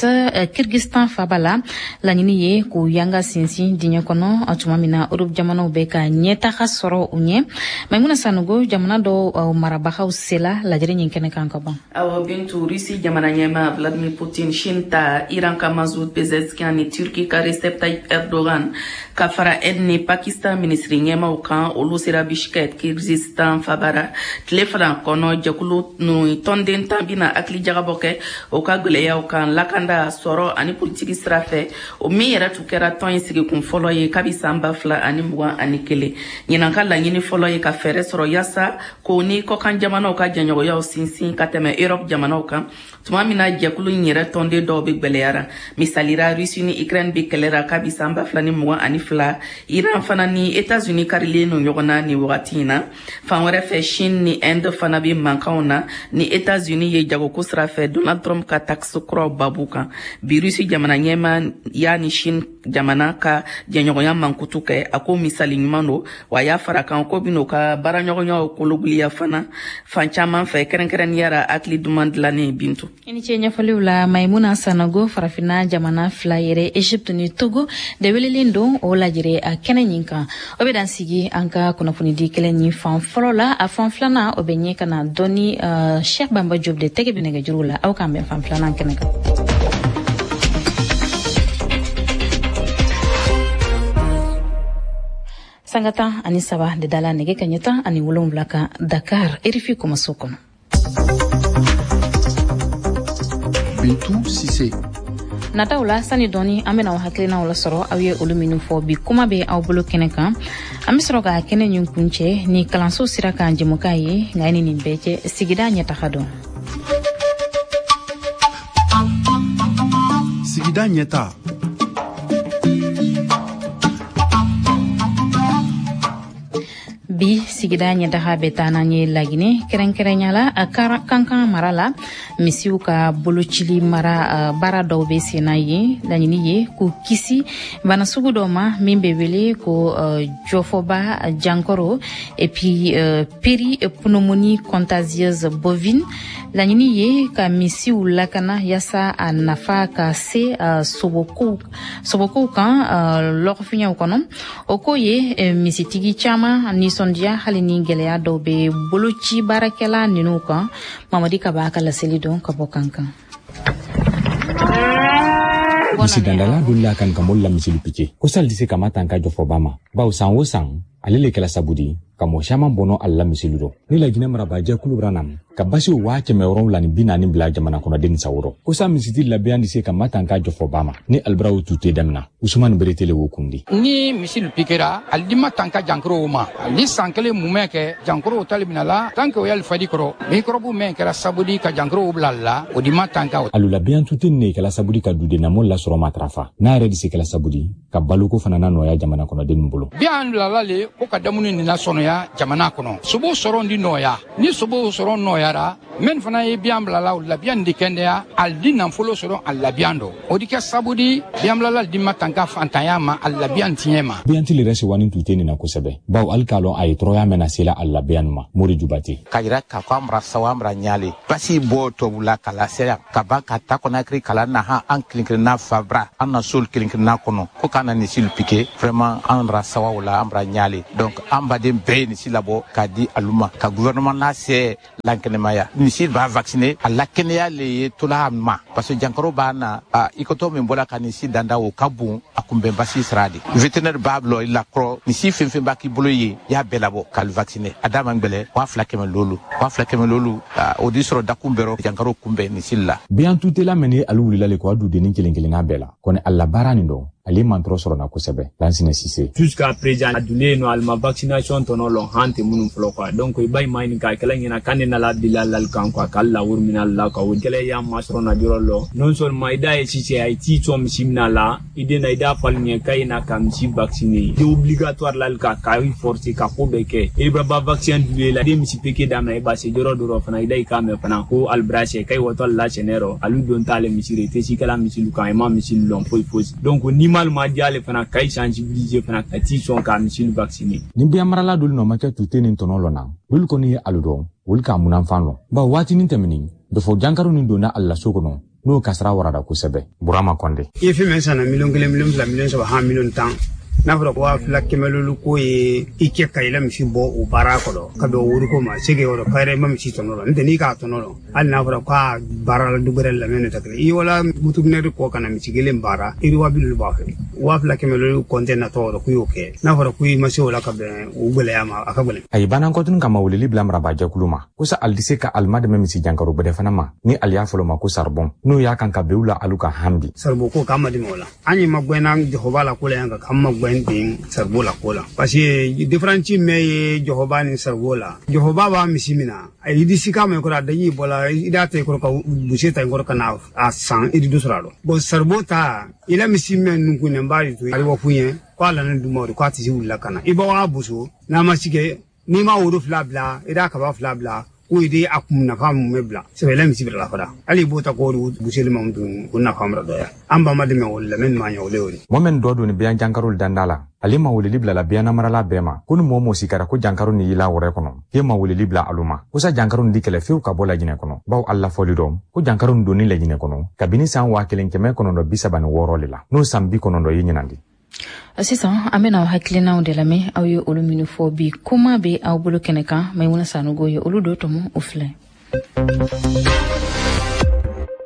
Kyrgyzstan faba la. Laɲini ye k'u yanga sinsin diɲɛ kɔnɔ tuma min na Europe jamanaw bɛ ka ɲɛtaga sɔrɔ u ɲɛ. Maimuna Sanogo, jamana dɔw marabagaw sela lajɛrɛ ɲin kɛnɛ kan ka ban. Awɔ Bintu, Russie jamana ɲɛma Vladimir Poutine, Chine ta Iran ka Masoud Pezeshkian ni Turquie ka Recep Tayyip Erdogan ka fara Inde ni Pakistan minisiri ɲɛmaw kan, olu sera Bishkek, Kyrgyzstan fabara. Tile fila kɔnɔ, jɛkulu ninnu tɔnden tan bɛna hakili jagabɔ kɛ o ka gwɛlɛyaw kan lakanda, sɔrɔ ani politiki sira fɛ, o min yɛrɛ tun kɛra tɔn in sigikun fɔlɔ ye kabi san ba fila ani mugan ani kelen. Ɲinan ka laɲini fɔlɔ ye ka fɛɛrɛ sɔrɔ yaasa k'o ni kɔkan jamanaw ka jɛɲɔgɔnyaw sinsin ka tɛmɛ Europe jamanaw kan, tuma min na jɛkulu in yɛrɛ tɔnden dɔw bɛ gwɛlɛyara. Misalira, Russie ni Ukraine bɛ kɛlɛra kabi san ba fila ni mugan ani fila. Iran fana ni États-Unis karilen no ɲɔgɔn na nin wagati in na. Fan wɛrɛ fɛ, Chine ni Inde fana bɛ mankanw na ni États-Unis ye jagoko sira fɛ, Donald Trump ka taxe kuraw babu kan. Bi, Russie jamana ɲɛma y'a ni Chine jamana ka jɛɲɔgɔnya mankutu kɛ. A ko misali ɲuman don wa, a y'a fara kan ko bin'o ka baaraɲɔgɔnyaw kologuliya fana fan caman fɛ, kɛrɛnkɛrɛnnenya la hakili duman dilannen. Bintu. I ni ce ɲɛfɔliw la, Maimuna Sanogo. Farafinna jamana fila yɛrɛ, Egypte ni Togo de welelen don o lajɛrɛ a kɛnɛ ɲin kan. O bɛ dan sigi an ka kunnafonidi kɛlɛ ɲin fan fɔlɔ la. A fan filanan, o bɛ ɲɛ ka na dɔɔni uh, Cheikh Bamba Diop de tɛgɛ bɛ nɛgɛjuru la. Aw k'an bɛn fan filanan kɛnɛ kan. Sanga tan ani saba de dala nɛgɛ ka ɲɛ tan ani wolonwula kan Dakar, R F I kumaso kɔnɔ. Bintu Sise. Nataw la sani dɔɔni an bɛna aw hakilinaw lasɔrɔ aw ye olu minnu fɔ bi kuma bɛ aw bolo kɛnɛ kan. An bɛ sɔrɔ ka kɛnɛ nin kuncɛ ni kalanso sira kan jɛmukan ye, nka ni nin bɛɛ cɛ sigida ɲɛtaga dɔn. Sigida ɲɛta. Bi sigida ɲɛtaga bɛ taa n'an ye Laginɛ, kɛrɛnkɛrɛnya la Kankan mara la misiw ka bolocili mara baara dɔw bɛ sen na yen. Laɲini ye k'u kisi bana sugu dɔ ma min bɛ wele ko jɔfɔba jankaro et puis péripneumonie contagieuse bovine. Laɲini ye ka misiw lakana yaasa a nafa ka se sobokow sobokow kan lɔgɔfiɲɛw kɔnɔ. O ko ye misitigi caman nisɔndiya hali ni gɛlɛya dɔw bɛ boloci baarakɛla ninnu kan. Mamadi Kaba ka laseli dɔn ka bɔ Kankan. Misi dandala dolila kan ka mɔli la misili pike ko sali se kama tan ka jɔfɔba ma, bawo san o san ale le kɛla sabu di ka mɔgɔ caman bɔnɔ ale la misili dɔ. Ni Laginɛ marabajɛkulu bra na ka basiw waa kɛmɛ wɔrɔnwula ni bi naani bila jamana kɔnɔden sawurɔ ko sa misiti labiyan di se ka matan ka jɔfɔba ma ni albiraw tute damina. Usumani Beretele wo kundi. Ni misili pikera ali di ma tanka jankaro ma, ali san kelen mumɛ kɛ jankaro tali mina la tant que o y'ali fadi kɔrɔ mikɔrɔbu mɛn kɛra sabu di ka jankaro bila la o di ma tanka. Alu labiyan tute ne kɛla sabu di ka duden namol lasɔrɔ matarafa n'a yɛrɛ di se kɛla sabu di ka baloko fana na nɔgɔya jamana kɔnɔden bolo. Biyan bilala le ko ka dumuni nin lasɔnɔya jamana kɔnɔ, sobo sɔrɔ di nɔgɔya ni sobo sɔrɔ nɔgɔyara min fana ye biyan bilala o labiyan di kɛnɛya ali di nafolo sɔrɔ a labiyan dɔ o di kɛ sabu di biyan bilala di ma tanka fantanya ma a labiyan tiɲɛ ma. Biyan ti yɛrɛ sewani tute nin na kosɛbɛ, bawo hali k'a lɔn a ye tɔɔrɔya mɛn na sela a labiyan ma. Mori Jubate k'a yira k'a fɔ an bara sawa an bara ɲale basi bɔ tubabula ka lase yan ka ban ka ta Conakry kala na han an kelen kelenna fabra an na sol kelen kelenna kɔnɔ ko k'an na misilu pike vraiment an bara sawa o la an bara ɲale. Donc an baden bɛɛ ye misi labɔ k'a di alu ma ka gouvernement n'a se lankɛnɛmaya misi b'a vacciner a lakɛnɛya le ye tola ma, parce que jankaro b'a na i kotɔ min bɔra ka misi danda o ka bon a kunbɛn basi sira de vétérinaire b'a bila i la kɔrɔ misi fɛn fɛn b'a k'i bolo ye i y'a bɛɛ labɔ k'ale vacciner a d'a ma gbɛlɛ waa fila kɛmɛ lolu waa fila kɛmɛ lolu o di sɔrɔ dakun bɛrɔ jankaro kunbɛn misi la. Biyan tutela mɛn ni alu wulila le ko a dudennin kelen kelenna bɛɛ la kɔni a labaara nin dɔn ale man tɔɔrɔ sɔrɔ na kosɛbɛ. Lansina Sise. Jusqu'à présent a dunnen nɔ ali ma vaccination tɔnɔ lɔn han tɛ minnu fɔlɔ quoi. Donc i b'a ɲini k'a kɛla ɲɛna k'an de nana bila lali kan quoi, k'ale lawuri minɛ la quoi. O kɛlɛ y'an masɔrɔ na yɔrɔ lɔ non seulement i da ye Sise a ye t'i sɔn misi minɛ la i den na i da fali ɲɛ k'a ye na ka misi vacciner i obligatoire lali kan k'a forcer ka ko bɛɛ kɛ i b'a ba vaccin du la den misi peke daminɛ i b'a se yɔrɔ dɔ fana i da i k'a mɛn fana ko alibira sɛ k'a ye wɔtɔ la sɛnɛ rɔ alu don t'ale misi rɔ i tɛ si kɛla misilu kan i ma misilu lɔn foyi foyi. Donc ni malima diale fana k'a sensibiliser fana ka t'i sɔn ka misilu vacciner. Ni biyan marala dolu nɔ ma kɛ tute ni tɔnɔ lɔ na olu kɔni ye alu dɔn olu k'a munanfan lɔ bawo waatinin tɛmɛnin dɔfɔ jankaro nin donna ali la so kɔnɔ n'o kasara warada kosɛbɛ. Burama Kɔnde. I ye fɛn min san na miliyɔn kelen miliyɔn fila miliyɔn saba han miliyɔn tan n'a fɔra ko waa fila kɛmɛ lolu ko ye i kɛ ka i la misi bɔ o baara kɔrɔ ka bɛn o woriko ma se k'e yɔrɔ k'a yɛrɛ i ma misi tɔnɔ la n'o tɛ n'i k'a tɔnɔ la hali n'a fɔra k'a baara la du wɛrɛ lamɛn tɛ kelen i wala butugunɛri kɔ ka na misi kelen baara i waa bi lolu b'a fɛ waa fila kɛmɛ lolu kɔntɛ natɔ yɔrɔ k'u y'o kɛ n'a fɔra ko i ma se o la ka bɛn o gɛlɛya ma a ka gɛlɛn. A ye banankɔtun kama weleli bila marabajɛkulu ma ko sa ali se ka alima dɛmɛ misi jankaro gbɛdɛ fana ma ni ali y'a fɔlɔ ma ko saribɔn n'o y'a kan ka bew la alu ka han bi. Saribɔn ko k'an ma dɛmɛ o la an ye magɛnna jɔfɔba la ko la yan kan k'an magɛn den saribo la ko la parce que différence mɛ ye jɔfɔba ni saribo la. Jɔfɔba b'a misi min na a yi di ka mɛ kɔrɔ a daji bɔla i da ta i kɔrɔ ka buse ta i kɔrɔ ka na a san i di dɔ sɔrɔ a la. Bon saribo ta i la misi mɛ nukunnen b'a de to a bɛ fɔ ɲɛ k'a la ne dun ma o de k'a tɛ se wulila ka na i b'a boso n'a ma si kɛ n'i ma woro fila bila i da kaba fila bila ko i de a kun nafa mun bɛ bila sɛbɛ la misi bila la fara hali i b'o ta k'o buseli ma dun o nafa mara dɔgɔya an ba ma dɛmɛ o la mɛ maa ɲɛ o le o de. Mɔgɔ min dɔ donni biyan jankaro danda la ale ma weleli bila la biyan namarala bɛɛ ma ko ni mɔgɔ mɔgɔ sikara ko jankaro ni yila wɛrɛ kɔnɔ k'e ma weleli bila alu ma ko sa jankaro ni di kɛlɛ fewu ka bɔ Laginɛ kɔnɔ bawo ali lafɔli dɔn ko jankaro ni donni Laginɛ kɔnɔ kabini san waa kelen kɛmɛ kɔnɔntɔn bi saba ni wɔɔrɔ le la n'o san bi kɔnɔntɔn ye ɲinan de. Sisan an bɛna aw hakilinaw de lamɛn aw ye olu minnu fɔ bi kuma bɛ aw bolo kɛnɛ kan Maimuna Sanogo ye olu dɔ tɔmɔ o filɛ.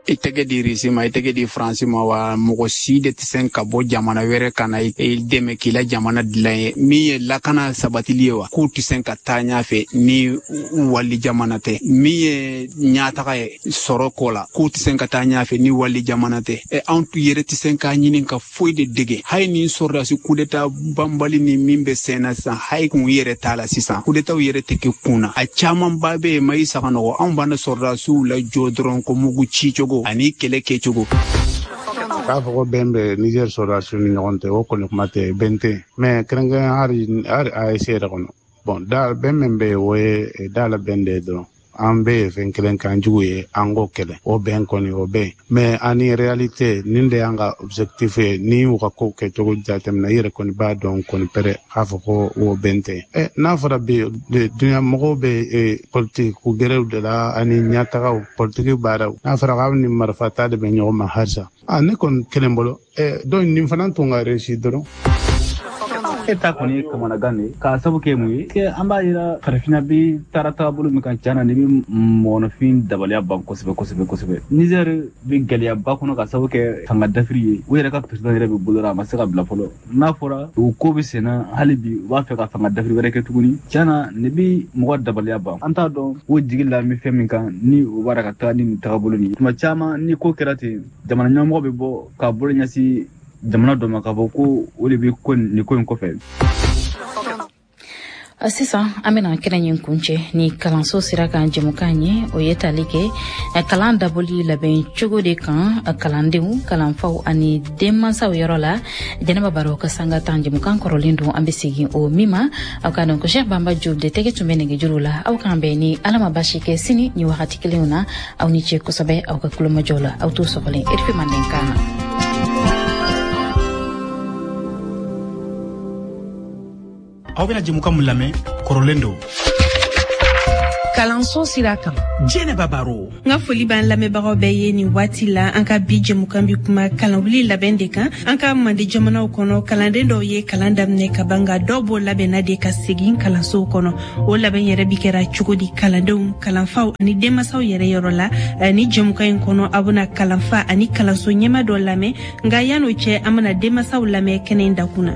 I tɛgɛ di Risi ma, i tɛgɛ di Faransi ma, wa mɔgɔ si de tɛ se ka bɔ jamana wɛrɛ ka na i dɛmɛ k'i la jamana dilan ye. Min ye lakana sabatili ye wa, k'u tɛ se ka taa ɲɛfɛ ni wali jamana tɛ. Min ye ɲɛtaga ye sɔrɔ ko la, k'u tɛ se ka taa ɲɛfɛ ni wali jamana tɛ. Ɛ anw yɛrɛ tɛ se k'a ɲini ka foyi de dege. Hali ni sɔrɔdasi kudeta banbali ni min bɛ sen na sisan, hali kun yɛrɛ t'a la sisan, kudetaw yɛrɛ tɛ kɛ kun na. A camanba bɛ yen, ma i saga nɔgɔ, anw b'an sɔrɔdasiw lajɔ dɔrɔn ko mugu ci cogo ani kɛlɛ kɛcogo. K'a fɔ ko bɛn bɛ Niger sɔrɔdasiw ni ɲɔgɔn cɛ, o kɔni kuma tɛ, bɛn tɛ. Mais kɛrɛnkɛrɛn hali hali A E S yɛrɛ kɔnɔ, bon da bɛn min bɛ yen, o ye da la bɛn de ye dɔrɔn. An bɛ ye fɛn kelen kan jugu ye, an k'o kɛlɛ, o bɛn kɔni o bɛn. Mais ani réalité nin de y'an ka objectif ye, ni u ka kow kɛcogo jateminɛ, i yɛrɛ kɔni b'a dɔn kɔni pɛrɛ k'a fɔ ko o bɛn tɛ. Ɛ n'a fɔra bi dunuya mɔgɔw bɛ politique ko gɛrɛw de la ani ɲɛtagaw politique baaraw, n'a fɔra k'aw ni marifa ta de bɛ ɲɔgɔn ma halisa, a ne kɔni kelen bolo ɛ donc nin fana tun ka réussir dɔrɔn. E ta kɔni ye kamanagan de ye, k'a sabu kɛ mun ye? An b'a yira farafinna bi taara taabolo min kan, tiɲɛ na nin bɛ mɔgɔninfin dabaliya ban kosɛbɛ kosɛbɛ kosɛbɛ. Niger bɛ gɛlɛyaba kɔnɔ k'a sabu kɛ fanga dafiri ye. U yɛrɛ ka président yɛrɛ bɛ bolo la, a ma se ka bila fɔlɔ. N'a fɔra o ko bɛ senna hali bi, u b'a fɛ ka fanga dafiri wɛrɛ kɛ tuguni. Tiɲɛ na nin bɛ mɔgɔ dabaliya ban. An t'a dɔn o jigi la bɛ fɛn min kan ni u b'a ka taa ni nin tagabolo nin ye. Tuma caman ni ko kɛra ten, jamana ɲɛmɔgɔ bɛ bɔ k'a bolo ɲɛsin jamana dɔ ma k'a fɔ ko o de bɛ ko nin ko in kɔfɛ. Sisan an bɛna kɛnɛ in kuncɛ ni kalanso sira kan jɛmukan ye, o ye tali kɛ kalan dabɔli labɛn cogo de kan kalandenw, kalanfaw ani denmansaw yɔrɔ la. Jɛnɛba Baro ka sanga tan jɛmukan kɔrɔlen don, an bɛ segin o min ma. Aw ka dɔn ko Cheikh Bamba Diop de tɛgɛ tun bɛ nɛgɛjuru la. Aw k'an bɛn ni Ala ma baasi kɛ sini ni wagati kelenw na. Aw ni ce kosɛbɛ aw ka kulomajɔ la. Aw t'o sɔgɔlen R F I Mandenkan na. Aw bɛna jɛmukan mun lamɛn, kɔrɔlen don. Kalanso sira kan, Jɛnɛba Baro. N ka foli b'an lamɛnbagaw bɛɛ ye nin waati la. An ka bi jɛmukan bi kuma kalanwuli labɛn de kan. An ka mande jamanaw kɔnɔ, kalanden dɔw ye kalan daminɛ ka ban, nka dɔw b'o labɛnna de ka segin kalansow kɔnɔ. O labɛn yɛrɛ bi kɛra cogo di kalandenw, kalanfaw ani denmasaw yɛrɛ yɔrɔ la? Ni jɛmukan in kɔnɔ, aw bɛna kalanfa ani kalanso ɲɛma dɔ lamɛn, nka yan'o cɛ, an bɛna denmasaw lamɛn kɛnɛ in dakun na.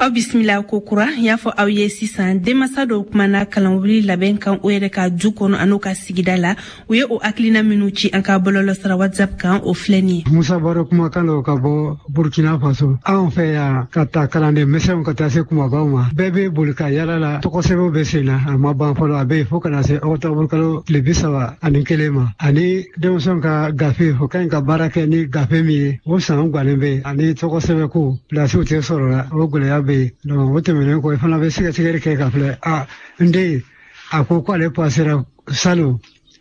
Aw bisimila ko kura. Y'a fɔ aw ye sisan, denmasa dɔw kumana kalanwuli labɛn kan o yɛrɛ ka du kɔnɔ an'o ka sigida la. U ye o hakilina minnu ci an ka bɔlɔlɔsira WhatsApp kan, o filɛ nin ye. Musa Baro kumakan don ka bɔ Burkina Faso. Anw fɛ yan, ka ta kalanden misɛnw ka taa se kumabaw ma, bɛɛ bɛ boli ka yala la, tɔgɔsɛbɛnw bɛ sen na, a ma ban fɔlɔ, a bɛ yen fo ka na se octobre kalo tile bi saba ani kelen ma. Ani denmisɛnw ka gafe, o ka ɲi ka baara kɛ ni gafe min ye, o san guwanen bɛ yen. Ani tɔgɔsɛbɛnko pilasiw tɛ sɔrɔ la, o gɛlɛya bɛ yen. Donc o tɛmɛnen kɔ, i fana bɛ sɛgɛsɛgɛli kɛ ka filɛ, a n den a ko k'ale pasera salon,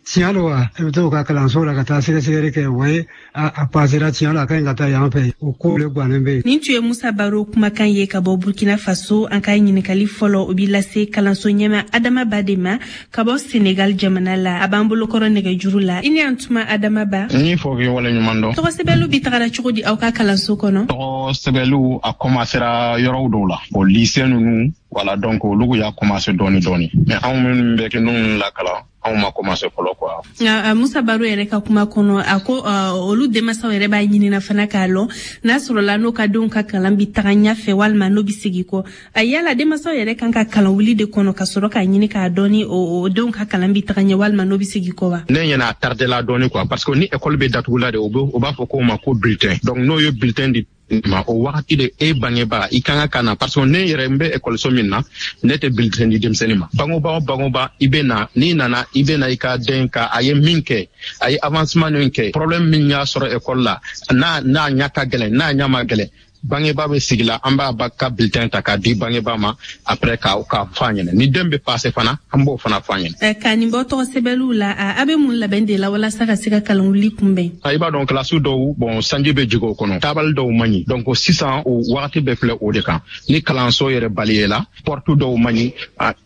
tiɲɛ don wa? I bɛ t'o ka kalanso la ka taa sɛgɛsɛgɛli kɛ, o ye a pasera tiɲɛ la, a ka ɲi ka taa yan fɛ, o ko le guwanen bɛ yen. Nin tun ye Musa Baro kumakan ye ka bɔ Burkina Faso. An ka ɲininkali fɔlɔ, o b'i lase kalanso ɲɛma Adama Ba de ma ka bɔ Senegal jamana la. A b'an bolokɔrɔ nɛgɛjuru la. I ni an tuma Adama Ba. N y'i fɔ k'i waleɲuman dɔn. Tɔgɔsɛbɛnliw bi tagara cogo di aw ka kalanso kɔnɔ? Tɔgɔsɛbɛnliw a commencera yɔrɔw dɔw la, o lycée ninnu, voilà, donc olu y'a commencé dɔɔni dɔɔni, mais anw minnu bɛ kɛ ninnu lakalan, anw ma commencé fɔlɔ quoi. Nka Musa Baro yɛrɛ ka kuma kɔnɔ, a ko olu denmansaw yɛrɛ b'a ɲinina fana k'a lɔn n'a sɔrɔla n'o ka denw ka kalan bi taga ɲɛfɛ walima n'o bi segin kɔ. A yala denmansaw yɛrɛ kan ka kalan wuli de kɔnɔ ka sɔrɔ k'a ɲini k'a dɔn ni o denw ka kalan bi taga ɲɛ walima n'o bi segin kɔ wa? Ne ɲɛna a tardé la dɔɔni quoi, parce que ni école bɛ datugula de, o b'a fɔ k'o ma ko bulletin. Donc n'o ye bulletin di ma, o wagati de e bangebaa i kan ka na, parce que ne yɛrɛ n bɛ ekɔliso min na, ne tɛ bulletin di denmisɛnnin ma. Bangebaa o bangebaa, i bɛ na, n'i nana i bɛ na i ka den ka a ye min kɛ, a ye avancement min kɛ, problème min y'a sɔrɔ ekɔli la, n'a n'a ɲɛ ka gɛlɛn, n'a ɲɛ ma gɛlɛn, bangebaa bɛ sigi la, an b'a ba ka bulletin ta k'a di bangebaa ma, après k'a k'a fɔ a ɲɛna. Ni den bɛ passer fana, an b'o fana fɔ a ɲɛna. Ka nin bɔ tɔgɔsɛbɛnliw la, a bɛ mun labɛn de la walasa ka se ka kalanwuli kunbɛn? I b'a dɔn kilasi dɔw, bon, sanji bɛ jigin o kɔnɔ, taabali dɔw man ɲi, donc sisan o wagati bɛɛ filɛ o de kan. Ni kalanso yɛrɛ baliyela, porte dɔw man ɲi,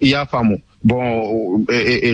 i y'a faamu, bon,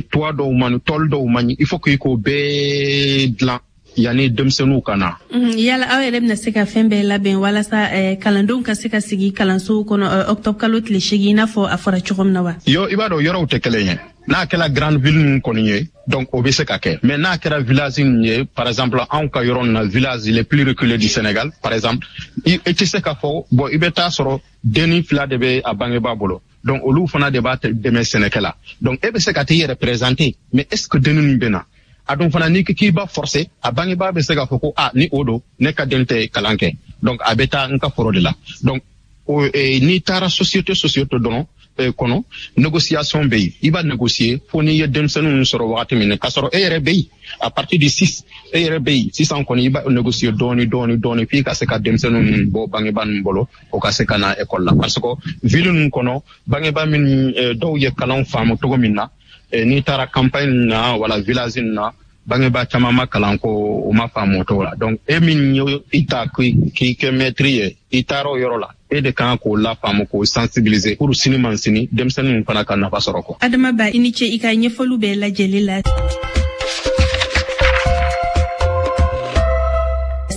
toit dɔw man ɲi, tôle dɔw man ɲi, il faut que i k'o bɛɛ dilan yanni denmisɛnninw ka na. Yala aw yɛrɛ bɛna se ka fɛn bɛɛ labɛn walasa kalandenw ka se ka sigi kalansow kɔnɔ octobre kalo tile seegin, i n'a fɔ a fɔra cogo min na wa? Yo, i b'a dɔn yɔrɔw tɛ kelen ye. N'a kɛra grande ville ninnu kɔni ye, donc o bɛ se ka kɛ. Mais n'a kɛra village ninnu ye, par exemple anw ka yɔrɔ na, village les plus reculés du Sénégal par exemple, i tɛ se k'a fɔ bon, i bɛ taa sɔrɔ denni fila de bɛ a bangebaa bolo, donc olu fana de b'a dɛmɛ sɛnɛkɛ la. Donc e bɛ se ka t'i yɛrɛ présenter, mais est ce que denni ninnu bɛ na? A dun fana n'i k'i b'a forcer, a bangebaa bɛ se k'a fɔ ko ah, ni o don, ne ka den tɛ kalan kɛ, donc a bɛ taa n ka foro de la. Donc n'i taara société société dɔrɔn kɔnɔ, négociation bɛ yen, i b'a négocier fo n'i ye denmisɛnninw sɔrɔ wagati min na, k'a sɔrɔ e yɛrɛ bɛ yen à partir de six, e yɛrɛ bɛ yen sisan kɔni, i b'a négocier dɔɔni dɔɔni dɔɔni f'i ka se ka denmisɛnninw bɔ bangebaa ninnu bolo, o ka se ka na école la. Parce que ville ninnu kɔnɔ, bangebaa minnu dɔw ye kalan faamu cogo min na, n'i taara campagne na wala village na, bangebaa caman ma kalan ko o ma faamu o cogo la. Donc e min ye i ta k'i kɛ maître ye, i taara o yɔrɔ la, e de kan k'o lafaamu, k'o sensibiliser pour sini man sini denmisɛnninw fana ka nafa sɔrɔ kɔ. Adama Ba, i ni ce i ka ɲɛfɔliw bɛɛ lajɛlen la.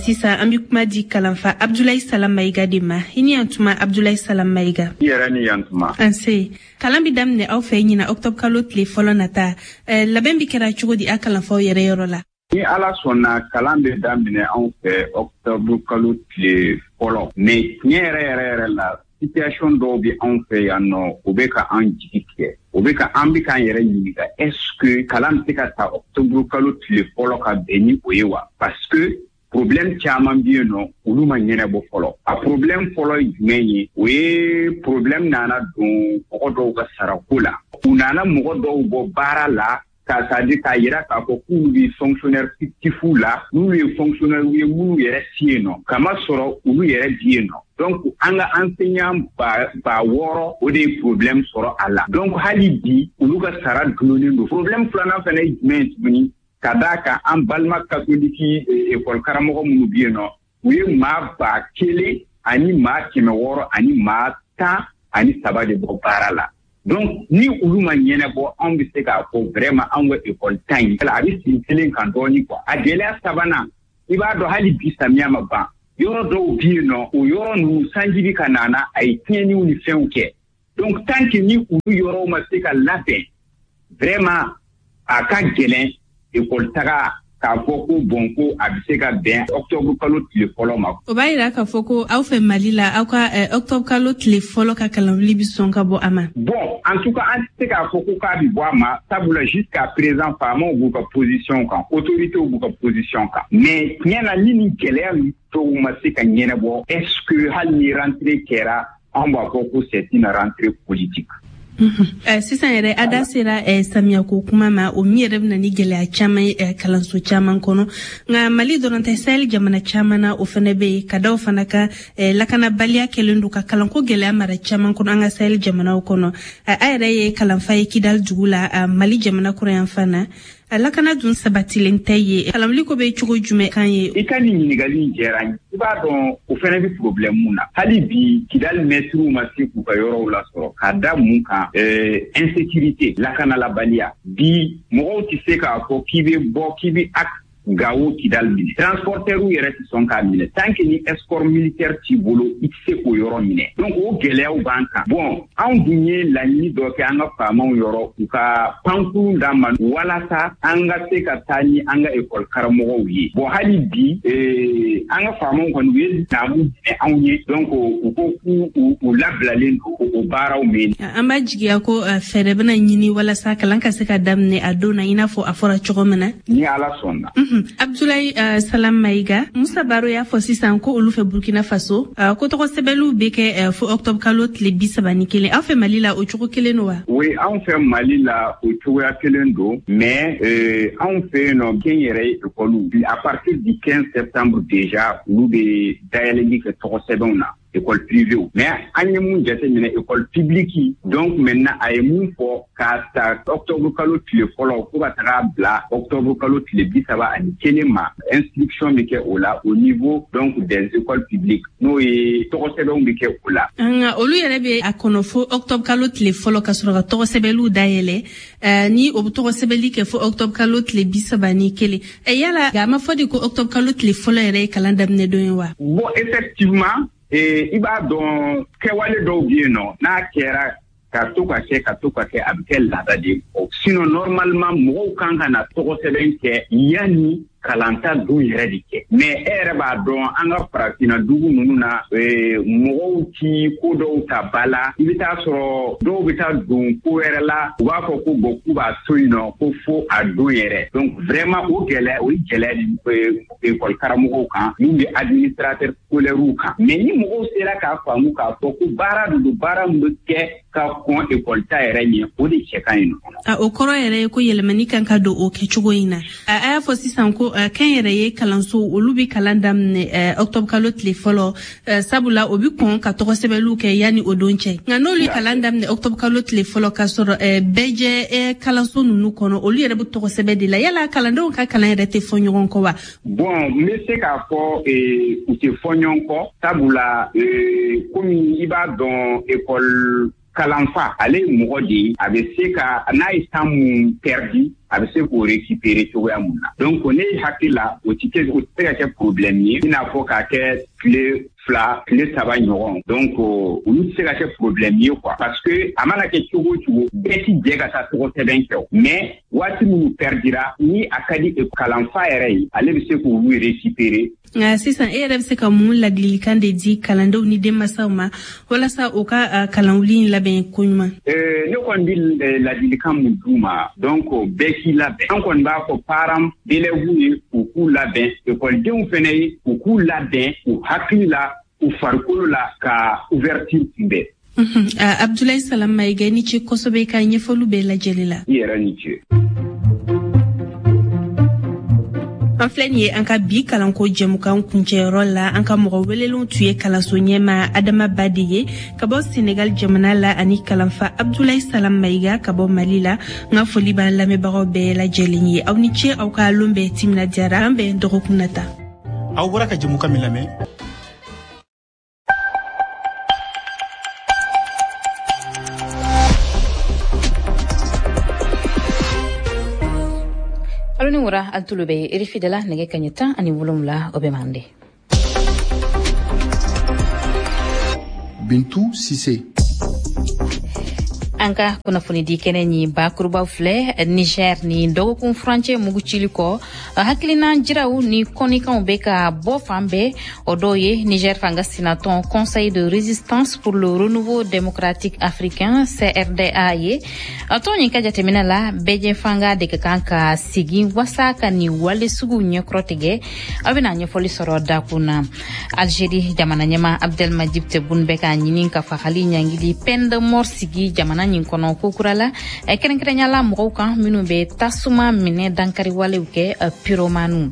Sisan an bɛ kuma di kalanfa Abdoulaye Salam Maïga de ma. I ni yan tuma, Abdoulaye Salam Maïga. I yɛrɛ ni yan tuma. An se. Kalan bɛ daminɛ aw fɛ ɲina octobre kalo tile fɔlɔ nata. Labɛn bɛ kɛra cogo di a kalanfaw yɛrɛ yɔrɔ la? Ni Ala sɔnna, kalan bɛ daminɛ anw fɛ octobre kalo tile fɔlɔ. Mais tiɲɛ yɛrɛ yɛrɛ yɛrɛ la, situation dɔw bɛ anw fɛ yan nɔ, o bɛ ka an jigi tigɛ. O bɛ ka an bɛ k'an yɛrɛ ɲininka, est-ce que kalan bɛ se ka ta octobre kalo tile fɔlɔ ka bɛn ni o ye wa? Parce que problème caman bɛ yen nɔ, olu ma ɲɛnabɔ fɔlɔ. A problème fɔlɔ ye jumɛn ye? O ye problème nana don mɔgɔ dɔw ka sarako la. U nana mɔgɔ dɔw bɔ baara la, k'a c'est-à-dire k'a yira k'a fɔ k'olu bɛ fonctionnaire fictif la, n'olu ye fonctionnaire ye minnu yɛrɛ si yen nɔ, kama sɔrɔ olu yɛrɛ bi yen nɔ. Donc an ka enseignant ba ba wɔɔrɔ, o de ye problème sɔrɔ a la. Donc hali bi olu ka sara dulonnen don. Problème filanan fana ye jumɛn ye tuguni? Ka d'a kan an balima katoliki école karamɔgɔ minnu bɛ yen nɔ, u ye maa ba kelen ani maa kɛmɛ wɔɔrɔ ani maa tan ani saba de bɔ baara la. Donc ni olu ma ɲɛnabɔ, anw bɛ se k'a fɔ vraiment anw ka école ta in a bɛ sigi kelen kan dɔɔni quoi. A gɛlɛya sabanan, i b'a dɔn hali bi samiya ma ban, yɔrɔ dɔw bɛ yen nɔ, o yɔrɔ ninnu sanji bɛ ka na na, a ye tiɲɛniw ni fɛnw kɛ. Donc tant que ni olu yɔrɔw ma se ka labɛn, vraiment a ka gɛlɛn école taga k'a fɔ ko bon, ko a bɛ se ka bɛn octobre kalo tile fɔlɔ ma. O b'a yira k'a fɔ ko aw fɛ Mali la, aw ka octobre kalo tile fɔlɔ ka kalanwuli bɛ sɔn ka bɔ a ma. Bon, en tout cas an tɛ se k'a fɔ ko k'a bɛ bɔ a ma, sabula jusqu'à présent faamaw b'u ka position kan, autorités b'u ka position kan. Mais tiɲɛ na, ni nin gɛlɛya ninnu dɔw ma se ka ɲɛnabɔ, est-ce que hali ni rentrée kɛra, anw b'a fɔ ko c'est une rentrée politique. Sisan yɛrɛ a da sera samiyako kuma ma, o min yɛrɛ bɛ na ni gɛlɛya caman ye kalanso caman kɔnɔ. Nka Mali dɔrɔn tɛ, Sahel jamana caman na o fana bɛ yen, ka da o fana kan lakanabaliya kɛlen don ka kalanko gɛlɛya mara caman kɔnɔ an ka Sahel jamanaw kɔnɔ. A yɛrɛ ye kalanfa ye Kidal dugu la, Mali jamana kɔrɔyanfan na. A lakana dun sabatilen tɛ ye, kalanwuli ko bɛ cogo jumɛn kan ye? I ka nin ɲininkali in diyara n ye. I b'a dɔn o fana bɛ problème mun na. Hali bi Kidal mɛtiriw ma se k'u ka yɔrɔw lasɔrɔ, ka da mun kan? Insécurité, lakanalabaliya. Bi mɔgɔw tɛ se k'a fɔ k'i bɛ bɔ k'i bɛ axe Gawo Kidal minɛ. Transporteurs yɛrɛ tɛ sɔn k'a minɛ. Tant que ni escorte militaire t'i bolo, i tɛ se k'o yɔrɔ minɛ. Donc o gɛlɛyaw b'an kan. Bon, anw dun ye laɲini dɔ kɛ an ka faamaw yɔrɔ, u ka pankurun d'an ma walasa an ka se ka taa ni an ka école karamɔgɔw ye. Bon, hali bi ee, an ka faamaw kɔni u ye naamu minɛ anw ye. Donc u ko k'u u labilalen don o baaraw min. An b'a jigiya ko fɛɛrɛ bɛna ɲini walasa kalan ka se ka daminɛ a don na, i n'a fɔ a fɔra cogo min na. Ni Ala sɔnna. Abdoulaye uh, Salam Maïga, Musa Baro y'a fɔ sisan ko olu fɛ Burkina Faso, uh, ko tɔgɔ sɛbɛnliw bɛ kɛ uh, fo octobre kalo tile bi saba ni kelen. Aw fɛ Mali la o cogo kelen don wa? Oui, anw fɛ Mali la o cogoya kelen don, mais euh, anw fɛ yen nɔ kɛnyɛrɛye école à partir du quinze septembre déjà olu bɛ dayɛlɛli kɛ tɔgɔ sɛbɛnw na, école privée. Mais an ye mun jateminɛ, école publique, donc maintenant a ye mun fɔ k'a ta octobre kalo tile fɔlɔ fo ka taga bila octobre kalo tile bi saba ani kelen ma, inscription bɛ kɛ o la au niveau donc des écoles publiques, n'o ye tɔgɔ sɛbɛnw bɛ kɛ o la. Nka olu yɛrɛ bɛ a kɔnɔ fo octobre kalo tile fɔlɔ ka sɔrɔ ka tɔgɔ sɛbɛnliw dayɛlɛ, ni o bɛ tɔgɔ sɛbɛnli kɛ fo octobre kalo tile bi saba ni kelen. Yala a ma fɔ de ko octobre kalo tile fɔlɔ yɛrɛ ye kalan daminɛ don ye wa? Bon, effectivement, i b'a dɔn kɛwale dɔw bɛ yen nɔ, n'a kɛra Ka to ka kɛ ka to ka kɛ, a bɛ kɛ laada de ye. Sinon normalement mɔgɔw kan ka na tɔgɔ sɛbɛn kɛ yanni kalanta dun yɛrɛ de kɛ. Mais e yɛrɛ b'a dɔn, an ka farafinna dugu ninnu na, mɔgɔw ti ko dɔw ta ba la. I bɛ taa sɔrɔ dɔw bɛ taa don ko wɛrɛ la, u b'a fɔ ko bon, k'u b'a to yen nɔ ko fo a don yɛrɛ. Donc vraiment o gɛlɛya, o ye gɛlɛya de école karamɔgɔw kan, min bɛ administrateur scolaire kan. Mais ni mɔgɔw sera k'a faamu k'a fɔ ko baara de don, baara min bɛ kɛ ka kɔn école ta yɛrɛ ɲɛ, o de cɛ ka ɲi nɔ. A o kɔrɔ yɛrɛ ye ko yɛlɛmani kan ka don o kɛcogo in na. A y'a fɔ sisan ko kɛn yɛrɛ ye kalanso, olu bɛ kalan daminɛ octobre kalo tile fɔlɔ, sabula o bɛ kɔn ka tɔgɔ sɛbɛnliw kɛ yanni o don cɛ. Nka n'olu ye kalan daminɛ octobre kalo tile fɔlɔ k'a sɔrɔ bɛɛ jɛ kalanso ninnu kɔnɔ, olu yɛrɛ bɛ tɔgɔ sɛbɛn de la, yala kalandenw ka kalan yɛrɛ tɛ fɔ ɲɔgɔn kɔ wa? Bon, n bɛ se k'a fɔ u tɛ fɔ ɲɔgɔn kɔ, sabula komi i b'a dɔn, école kalanfa ale ye mɔgɔ de ye, a bɛ se ka n'a ye temps mun perdu, a bɛ se k'o récupérer cogoya mun na. Donc ne hakili la, o ti kɛ, o tɛ se ka kɛ problème ye, i n'a fɔ k'a kɛ tile fila, tile saba ɲɔgɔn. Donc olu tɛ se ka kɛ problème ye quoi, parce que a mana kɛ cogo o cogo, bɛɛ ti jɛ ka taa tɔgɔ sɛbɛn kɛ o. Mais waati minnu perdira, ni a ka di kalanfa yɛrɛ ye, ale bɛ se k'olu récupérer. Nka sisan e yɛrɛ bɛ se ka mun ladilikan de di kalandenw ni denmansaw ma walasa u ka kalanwuli in labɛn koɲuman? Ne kɔni bɛ ladilikan mun d'u ma, donc bɛɛ k'i labɛn. An kɔni b'a fɔ parents d'élèves ye, u k'u labɛn, ekɔlidenw fɛnɛ ye, u k'u labɛn u hakili la, u farikolo la, ka ouverture kunbɛn. Abdoulaye Salam Maïga, ni ce kosɛbɛ i ka ɲɛfɔliw bɛɛ lajɛlen la. I yɛrɛ ni ce. An filɛ nin ye an ka bi kalanko jɛmukan kuncɛyɔrɔ la. An ka mɔgɔ welelenw tun ye kalanso ɲɛma Adama Ba de ye ka bɔ Senegal jamana la, ani kalanfa Abdoulaye Salam Maïga ka bɔ Mali la. N ka foli b'an lamɛnbagaw bɛɛ lajɛlen ye. Aw ni ce, aw ka lon bɛɛ timinadiyara. An bɛn dɔgɔkun nata. Aw bɔra ka jɛmukan min lamɛn. Alo ni wura, al tulo bɛ R F I de la, nɛgɛ kaɲɛ tan ani wolonwula o bɛ mande. Bintu Sise. An ka kunnafoni di kɛnɛ ni bakurubaw filɛ. Niger, ni dɔgɔkun furancɛ mugu cili kɔ, hakilina jiraw ni kɔnikanw bɛ ka bɔ fan bɛɛ. O dɔw ye Niger fanga sinatɔn Conseil de résistance pour le renouveau démocratique africain, C R D A ye. Tɔn nin ka jateminɛ la, bɛɛjɛ fanga de ka kan ka sigi wasa ka nin wale suguw ɲɛkɔrɔ tigɛ. Aw bɛna ɲɛfɔli sɔrɔ dakun na. Algérie jamana ɲɛma Abdelmadjid Tebboune bɛ ka ɲini ka fagali ɲangili peine de mort sigi jamana nin kɔnɔ kokura la, kɛrɛnkɛrɛnya la mɔgɔw kan minnu bɛ tasuma minɛ dankari walew kɛ, pyromaniw.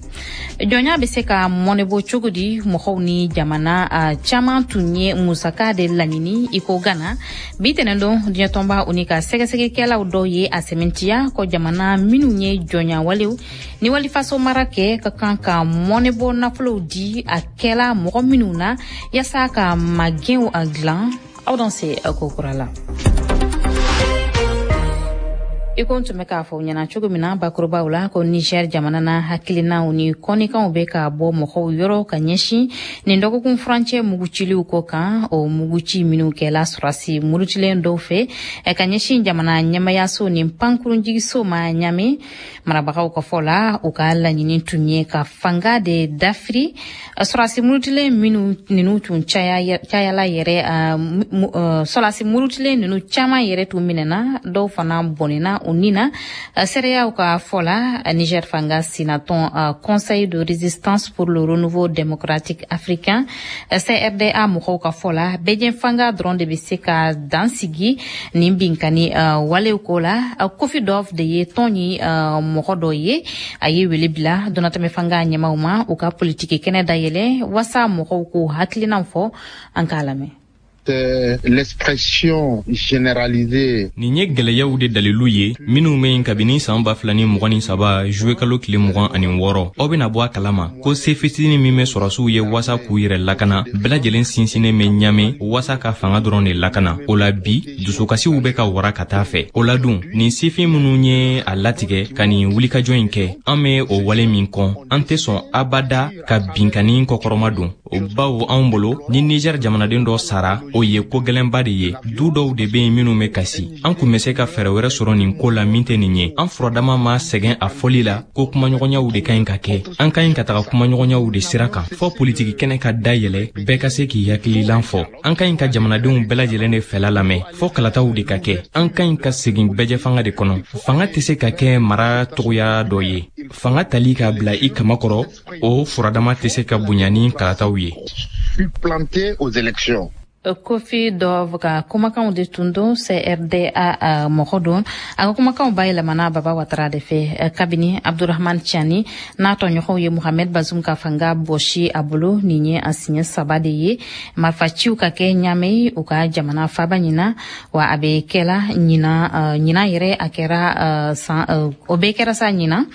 Jɔnya bɛ se ka mɔnɛbɔ cogo di? Mɔgɔw ni jamana caman tun ye musaka de laɲini i ko Gana. Bi tɛnɛndon, diɲɛtɔnba o ni ka sɛgɛsɛgɛkɛlaw dɔw ye a sɛmɛntiya ko jamana minnu ye jɔnya walew ni walifaso mara kɛ ka kan ka mɔnɛbɔ nafolow di a kɛla mɔgɔ minnu na yaasa ka magɛnw a dilan. Aw dan se kokura la. I ko n tun bɛ k'a fɔ ɲɛna cogo min na bakurubaw la, ko Niger jamana na, hakilinaw ni kɔnikanw bɛ ka bɔ mɔgɔw yɔrɔ ka ɲɛsin nin dɔgɔkun furancɛ muguciliw ko kan. O muguci minnu kɛla sɔrɔsi murutilen dɔw fɛ ka ɲɛsin jamana ɲɛmayaso ni pankurunjigiso ma Ɲame, marabagaw ka fɔ la, u ka laɲini tun ye ka fanga de dafiri. Sɔrɔsi murutilen minnu ninnu tun cayala yɛrɛ, sɔrɔsi murutilen ninnu caman yɛrɛ tun minɛna, dɔw fana bɔnɛna u ni na. Seereyaw ka fɔ la, Niger fanga sinatɔn Conseil de résistance pour le renouveau démocratique africain, C R D A mɔgɔw ka fɔ la, bɛjɛ fanga dɔrɔn de bɛ se ka dan sigi nin binkani walew ko la. Kofi Dɔf de ye tɔn ni mɔgɔ dɔ ye, a ye wele bila donnatɛmɛ fanga ɲɛmaw ma, u ka politiki kɛnɛ dayɛlɛ wasa mɔgɔw k'u hakilinaw fɔ. An k'a lamɛn. L'expression généralisée. Nin ye gwɛlɛyaw de dalilu ye minnu bɛ yen kabini saan ba fila ni mugan ni saba juwe kalo tile mugan ani wɔɔrɔ. Aw bena bɔ a kalama ko se fitini min bɛ sɔrɔsiw ye wasa k'u yɛrɛ lakana, bɛɛ lajɛlen sinsinnen bɛ Ɲame wasa ka fanga dɔrɔn de lakana. O la bi, dusukasiw bɛ ka wara ka taa fɛ. O la dun, nin sifin minnu ye a latigɛ ka nin wulikajɔ in kɛ, an bɛ o wale min kɔn, an tɛ sɔn abada ka binkani kɔkɔrɔma don. Bawo anw bolo, ni Niger jamanaden dɔ sara, o ye ko gɛlɛnba de ye. Du dɔw de bɛ yen minnu bɛ kasi. An kun bɛ se ka fɛɛrɛ wɛrɛ sɔrɔ nin ko la min tɛ nin ye. An furadama ma sɛgɛn a fɔli la ko kumaɲɔgɔnyaw de ka ɲi ka kɛ. An ka ɲi ka taga kumaɲɔgɔnyaw de sira kan, fɔ politiki kɛnɛ ka dayɛlɛ, bɛɛ ka se k'i hakililan fɔ. An ka ɲi ka jamanadenw bɛɛ lajɛlen de fɛla lamɛn, fɔ kalataw de ka kɛ. An ka ɲi ka segin bɛɛjɛfanga de kɔnɔ. Fanga tɛ se ka kɛ mara togoya dɔ ye. Fanga tali k'a bila i kama kɔrɔ, o furadama tɛ se ka bonya ni kalataw ye. Supplanter aux élections. Kofi Dove ka kumakanw de tun don, C R D A mɔgɔ don. A ka kumakanw bayɛlɛmana Baba Watara de fɛ. Kabini Abdurahman Tiani n'a tɔɲɔgɔnw ye Mohamed Bazum ka fanga bɔsi a bolo, nin ye a siɲɛ saba de ye marifaciw ka kɛ Ɲamɛ, u ka jamana faba ɲina. Wa a bɛ kɛla ɲina ɲina yɛrɛ, a kɛra san o bɛɛ kɛra sa ɲina.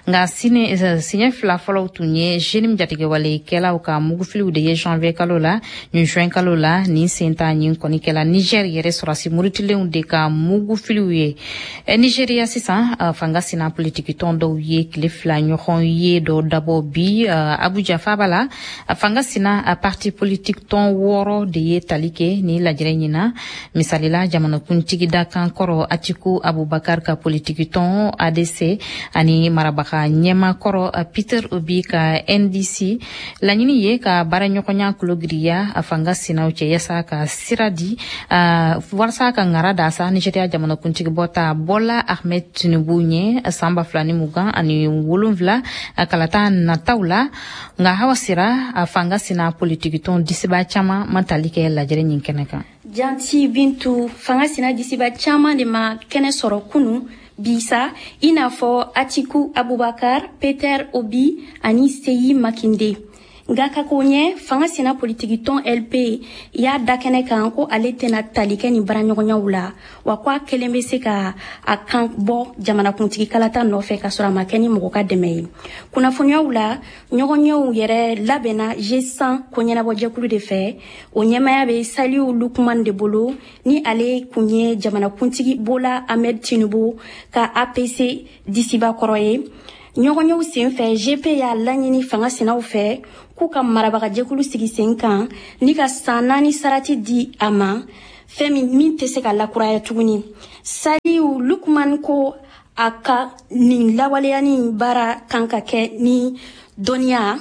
Nka siɲɛ fila fɔlɔw tun ye JNIM jatigɛwalekɛlaw ka mugufiliw de ye janvier kalo la ni juin kalo la. Nin sen ta ɲin kɔni kɛla Niger yɛrɛ sɔrɔsi murutilenw de ka mugufiliw ye. Nigeria sisan, fanga sina politikitɔn dɔw ye tile fila ɲɔgɔn ye dɔ dabɔ bi Abuja faba la. Fanga sina parti politique tɔn wɔɔrɔ de ye tali kɛ ni lajɛrɛ ɲina. Misalila, jamanakuntigi dakan kɔrɔ Atiku Abubakar ka politikitɔn A D C ani marabaga ɲɛma kɔrɔ Peter Obi ka N D C. Laɲini ye ka baaraɲɔgɔnya kologiriya a fanga sinaw cɛ, yasa ka sira di uh, walasa ka ŋara da sa Nigeria jamanakuntigi bɔta Bola Ahmed Tinubu ɲɛ san ba fila ni mugan ani wolonfila kalata nataw la. Nka Hawa Sira, a fanga sina politikitɔn disiba caman ma tali kɛ lajɛrɛ ɲin kɛnɛ kan. Janti Bintu, fanga sina disiba caman de ma kɛnɛ sɔrɔ kunu bisa, i n'a fɔ Atiku Abubakar, Peter Obi ani Seyi Makinde. Nka ka ko ɲɛ, fanga sina politikitɔn L P y'a da kɛnɛ kan ko ale tɛna tali kɛ nin baaraɲɔgɔnyaw la, wa ko a kelen bɛ se ka a kan bɔ jamanakuntigi kalata nɔfɛ ka sɔrɔ a ma kɛ ni mɔgɔ ka dɛmɛ ye. Kunnafoniyaw la, ɲɔgɔnyew yɛrɛ labɛnna G cent ko ɲɛnabɔjɛkulu de fɛ. O ɲɛmaya bɛ Saliu Lukman de bolo, ni ale kun ye jamanakuntigi Bola Ahmed Tinubu ka A P C disiba kɔrɔ ye. Ɲɔgɔnyew sen fɛ, G P y'a laɲini fanga sinaw fɛ k'u ka marabagajɛkulu sigi sen kan ni ka san naani sarati di a ma, fɛn min min tɛ se ka lakuraya tuguni. Saliu Lukman ko a ka nin lawaleyani baara kan ka kɛ ni dɔnniya,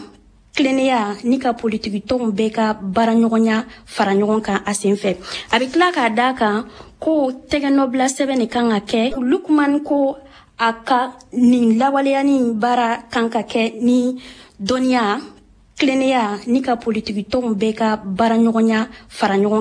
tilennenya ni ka politikitɔnw bɛɛ ka baaraɲɔgɔnya fara ɲɔgɔn kan a sen fɛ. A bɛ tila k'a da kan ko tɛgɛnɔbila sɛbɛn de kan ka kɛ. Lukman ko a ka nin lawaleyani baara kan ka kɛ ni dɔnniya, tilennenya ni ka politikitɔnw bɛɛ ka baaraɲɔgɔnya fara ɲɔgɔn